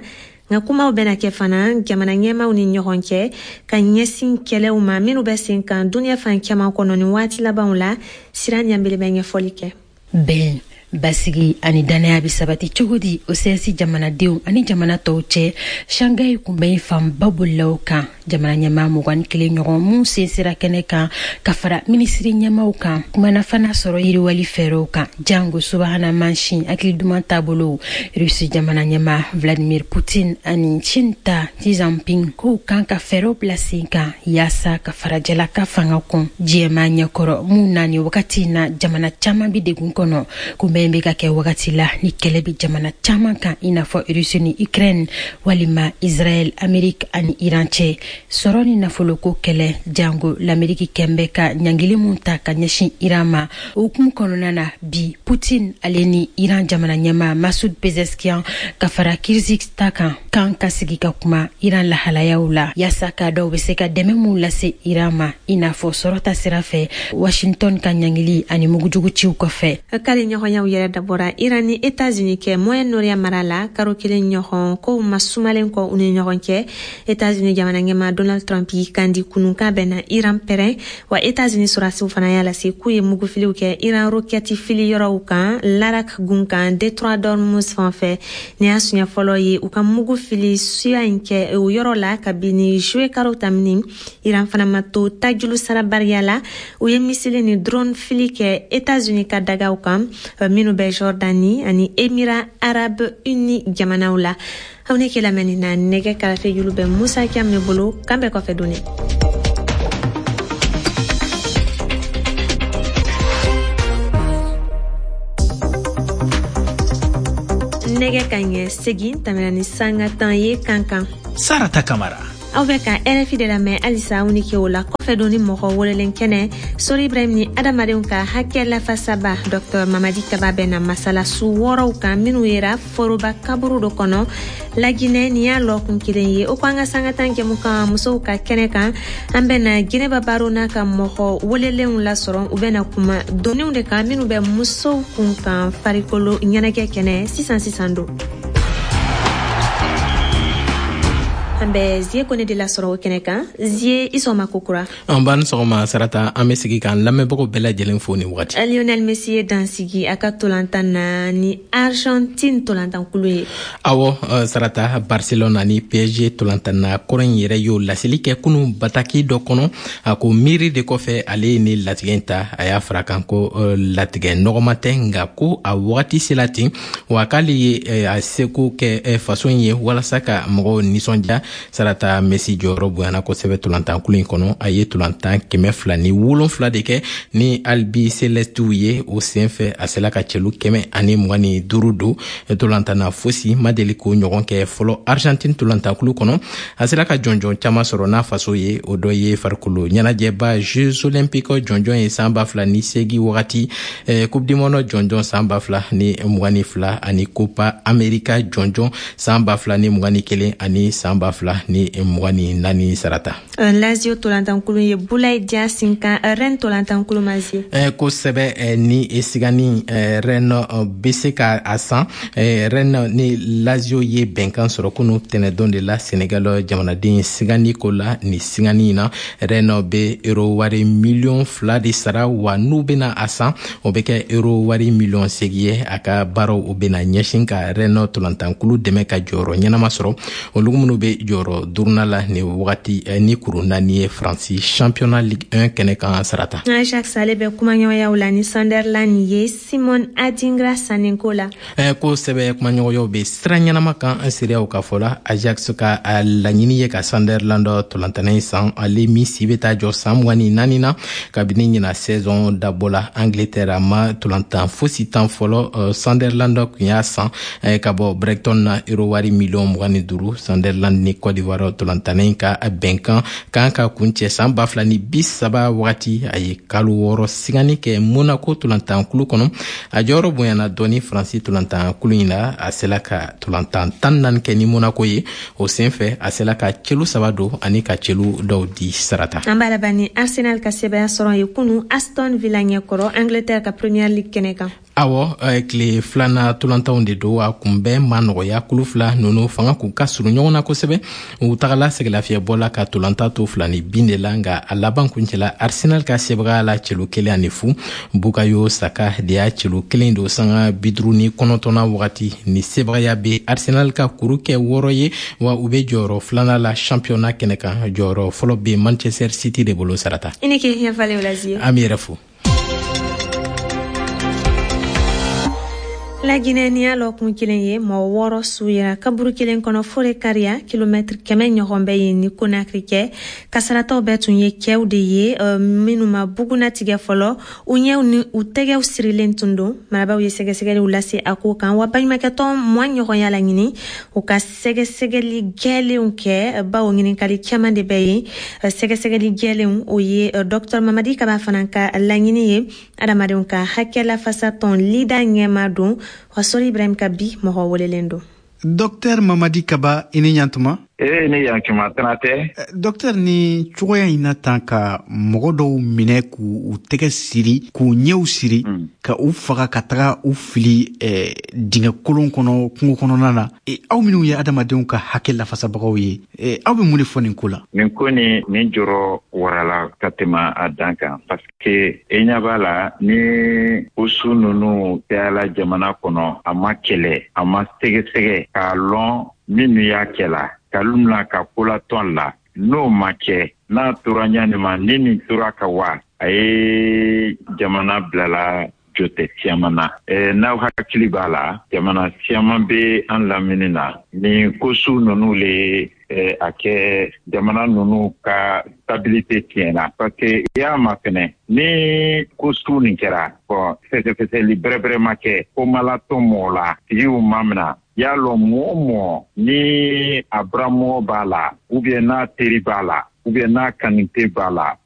Nka kumaw bɛna kɛ fana jamana ɲɛmaw ni ɲɔgɔn cɛ ka ɲɛsin kɛlɛw ma minnu bɛ sen kan duniya fan caman kɔnɔ ni waati labanw la. Sira ɲanbele bɛ ɲɛfɔli kɛ. Bɛn, basigi ani dannaya bɛ sabati cogo di O C S jamanadenw ani jamana tɔw cɛ? Shanghai kunbɛn fanba bolila o kan. Jamana ɲɛmaa mugan ni kelen ɲɔgɔn mun sen sera kɛnɛ kan ka fara minisiri ɲɛmaw kan, kumana fana sɔrɔ yiriwali fɛɛrɛw kan, jango subahana mansin hakili duman taabolo. Rusi jamana ɲɛmaa Vladimir Putin ani Chine ta Xi Jinping k'u kan ka fɛɛrɛw bila sen kan yaasa ka farajɛla ka fanga kɔn diɲɛmaa ɲɛkɔrɔ, mun na ni wagati in na jamana caman bi degun kɔnɔ. Kunbɛn bɛ ka kɛ wagati la ni kɛlɛ bɛ jamana caman kan, i n'a fɔ Rusi ni Ukraine, walima Israɛl, Amerique ani Iran cɛ. Sɔrɔ ni nafoloko kɛlɛ, jango l'Ameriki kɛn bɛ ka ɲangili mun ta ka ɲɛsin Iran ma. O hukumu kɔnɔna na bi, Putin ale ni Iran jamana ɲɛmaa Masud Pezeshkian ka fara Kirgiz ta kan kan ka sigi ka kuma Iran lahalayaw la, yaasa k'a dɔw bɛ se ka dɛmɛ mun lase Iran ma, i n'a fɔ sɔrɔ ta sira fɛ, Washington ka ɲangili ani mugujugu ciw kɔfɛ. Kari ɲɔgɔnyaw yɛrɛ dabɔra Iran ni Etats-Unis kɛ Moyen-Orient mara la karo kelen ɲɔgɔn kow ma sumalen kɔ u ni ɲɔgɔn cɛ. Etats-Unis jamana ɲɛma Donald Trump y'i kandi kunun k'a bɛnna Iran pɛrɛn. Wa Etats-Unis sɔrɔdasiw fana y'a lase k'u ye mugufiliw kɛ Iran rokɛti fili yɔrɔw kan Larak gun kan, détroit d'Ormuz fan fɛ. Nin y'a siɲɛ fɔlɔ ye u ka mugu fili suya in kɛ o yɔrɔ la kabini juillet karo tamini. Iran fana ma to tajulu sarabariya la, u ye missile ni drone fili kɛ Etats-Unis ka dagaw kan minnu bɛ Jordanie ani Émirats Arabes Unis jamanaw la. Aw ne ke lamɛnni na, nɛgɛ karafe julu bɛ Musa Cam ne bolo. Kan bɛɛ kɔfɛ donni. Nɛgɛ ka ɲɛ segin tɛmɛna ni sanga tan ye Kankan. Sarata Kamara. Aw bɛ ka R F I de lamɛn halisa. Aw ni ke o la kɔfɛ don ni mɔgɔ welelen kɛnɛ, Sori Ibrahim ni adamadenw ka hakɛ lafasaba Docteur Mamadi Kaba bɛ na masala su wɔɔrɔw kan minnu yera foroba kaburu dɔ kɔnɔ Laginɛ. Nin y'a lɔkun kelen ye. O ko an ka sanga tan jɛmu kan musow ka kɛnɛ kan, an bɛ na Ginɛba Baro n'a ka mɔgɔ welelenw lasɔrɔ. U bɛ na kuma doniw de kan minnu bɛ musow kun kan farikolo ɲɛnajɛ kɛnɛ sisan sisan don. An bɛ Zie Kone de lasɔrɔ o kɛnɛ kan. Zie, i sɔgɔma kokura. An b'an sɔgɔma Sarata. An bɛ sigi k'an lamɛnbagaw bɛɛ lajɛlen fo nin wagati. Lionel Messi ye dansigi a ka tolantan na ni Argentine tolantankulu ye. Awɔ Sarata, Barcelona ni P S G tolantanna kɔrɔ in yɛrɛ y'o laseli kɛ kunu bataki dɔ kɔnɔ. A ko miiri de kɔfɛ ale ye ni latigɛ in ta. A y'a fara kan ko latigɛ nɔgɔma tɛ, nka ko a wagati sela ten, wa k'ale ye a seko kɛ faso in ye walasa ka mɔgɔw nisɔndiya. Sarata, Messi jɔyɔrɔ bonyana kosɛbɛ tolantankulu in kɔnɔ. A ye tolantan kɛmɛ fila ni wolonfila de kɛ ni Albicelestew ye. O sen fɛ, a sela ka cɛlu kɛmɛ ani mugan ni duuru don tolantan na. Fosi ma deli k'o ɲɔgɔn kɛ fɔlɔ Argentine tolantankulu kɔnɔ. A sera ka jɔnjɔn caman sɔrɔ n'a faso ye. O dɔ ye farikolo ɲɛnajɛba Jeux olympiques jɔnjɔn ye san ba fila ni seegin wagati, Coupe du monde jɔnjɔn san ba fila ni mugan ni fila, ani Copa America jɔnjɔn san ba fila ni mugan ni kelen ani san ba fila ni mugan ni naani, Sarata. Lazio tolantankulu ye Boulaye Dia sinkan Rennes tolantankulu ma, Zie. Kosɛbɛ, ni sigani Rennes bɛ se ka a san. Rennes ni Lazio ye bɛnkan sɔrɔ kunu tɛnɛdon de la Senegal jamanaden sigani ko la. Ni sigani in na, Rennes bɛ euro wari miliyɔn fila de sara, wa n'u bɛna a san, o bɛ kɛ euro wari miliyɔn seegin ye. A ka baaraw o bɛna ɲɛsin ka Rennes tolantankulu dɛmɛ ka jɔyɔrɔ ɲɛnama sɔrɔ, olu minnu bɛ jɔyɔrɔ duurunan la nin wagati ni kuru naani ye Faransi championnat Ligue un kɛnɛ kan, Sarata. Ajax ale bɛ kumaɲɔgɔnyaw la ni Sunderland ye Simon Adingra sanninko la. Kosɛbɛ, kumaɲɔgɔnyaw bɛ sira ɲɛnama kan an seereyaw ka fɔ la. Ajax ka laɲini ye ka Sunderland tolantanna in san, ale min si bɛ taa jɔ san mugan ni naani na. Kabini ɲina saison dabɔ la Angleterre, a ma tolantan fosi tan fɔlɔ. Sunderland tun y'a san ka bɔ Brighton na euro wari miliyɔn mugan ni duuru. Sunderland ni Côte d'Ivoire tolantanna in ka bɛnkan kan ka kuncɛ san ba fila ni bi saba wagati. A ye kalo wɔɔrɔ sigani kɛ Monaco tolantankulu kɔnɔ. A jɔyɔrɔ bonyana dɔɔni Faransi tolantankulu in na. A sela ka tolantan tan naani kɛ ni Monaco ye. O sen fɛ, a sela ka celu saba don ani ka celu dɔw di, Sarata. An b'a laban ni Arsenal ka sɛbɛya sɔrɔ ye kunu Aston Villa ɲɛkɔrɔ Angleterre ka Premier League kɛnɛ kan. Awɔ, tile filanan tolantanw de don. A kunbɛn ma nɔgɔya. Kulu fila ninnu fanga k'u ka surun ɲɔgɔn na kosɛbɛ. U tagala sɛgɛlafiyɛbɔ la ka tolantan to fila ni bin de la, nka a laban kuncɛla Arsenal ka sebagaya la celu kelen ani fu. Bukayo Saka de y'a celu kelen don sanga bi duuru ni kɔnɔntɔnna wagati. Ni sebagaya bɛ Arsenal ka kuru kɛ wɔɔrɔ ye, wa u bɛ jɔyɔrɔ filanan la championnat kɛnɛ kan. Jɔyɔrɔ fɔlɔ bɛ Manchester City de bolo, Sarata. I ni ke ɲɛfalen o la, Zie. An b'i yɛrɛ fo. Laginɛ, ni y'a lɔkun kelen ye, mɔgɔ wɔɔrɔ su yera kaburu kelen kɔnɔ Forécariah, kilomɛtiri kɛmɛ ɲɔgɔn bɛ yen ni Konakiri kɛ. Kasaratɔw bɛɛ tun ye cɛw de ye minnu ma bugunatigɛ fɔlɔ. U ɲɛw ni u tɛgɛw sirilen tun don. Marabaw ye sɛgɛsɛgɛliw lase a ko kan, wa baɲumakɛtɔn mugan ɲɔgɔn y'a laɲini u ka sɛgɛsɛgɛli gɛlenw kɛ, bawo ɲininkali caman de bɛ yen. Sɛgɛsɛgɛli gɛlenw, o ye Docteur Mamadi Kaba fana ka laɲini ye. Adamadenw ka hakɛ lafasatɔn LIDA ɲɛma don, wa Sori Ibrahim ka bi mɔgɔ welelen don. Docteur Mamadi Kaba, i ni ɲantuma. Ee, ni yankuma tana tɛ. Docteur, ni cogoya in na tan ka mɔgɔ dɔw minɛ k'u u tɛgɛ siri, k'u ɲɛw siri, mm. ka u faga ka taga u fili eh, dingɛ kolon kɔnɔ kungo kɔnɔna na, e, aw minnu ye adamadenw ka hakɛ lafasabagaw ye, e, aw bɛ mun de fɔ nin ko la? Nin ko ni nin jɔrɔ warala ka tɛmɛ a dan kan, parce que e ɲɛ b'a la ni o su ninnu cayala jamana kɔnɔ, a ma kɛlɛ, a ma sɛgɛsɛgɛ k'a lɔn minnu y'a kɛla, kalu mina ka kolatɔn la. N'o ma kɛ, n'a tora ɲani ma, ni nin tora ka wa a ye jamana bilala jotɛ siyaman na. N'aw hakili b'a la, jamana siyaman bɛ an lamini na, nin ko su ninnu le a kɛ jamana ninnu ka stabilité tiɲɛna, parce que i y'a mafɛnɛ ni ko su nin kɛra, bon, fɛsɛfɛsɛli bɛrɛbɛrɛ ma kɛ, ko ma latɔn mɔgɔ la, tigiw ma mina. Y'a lɔn, mɔgɔ o mɔgɔ ni a buramɔgɔ b'a la, ou bien n'a teri b'a la, ou bien n'a kanite b'a la.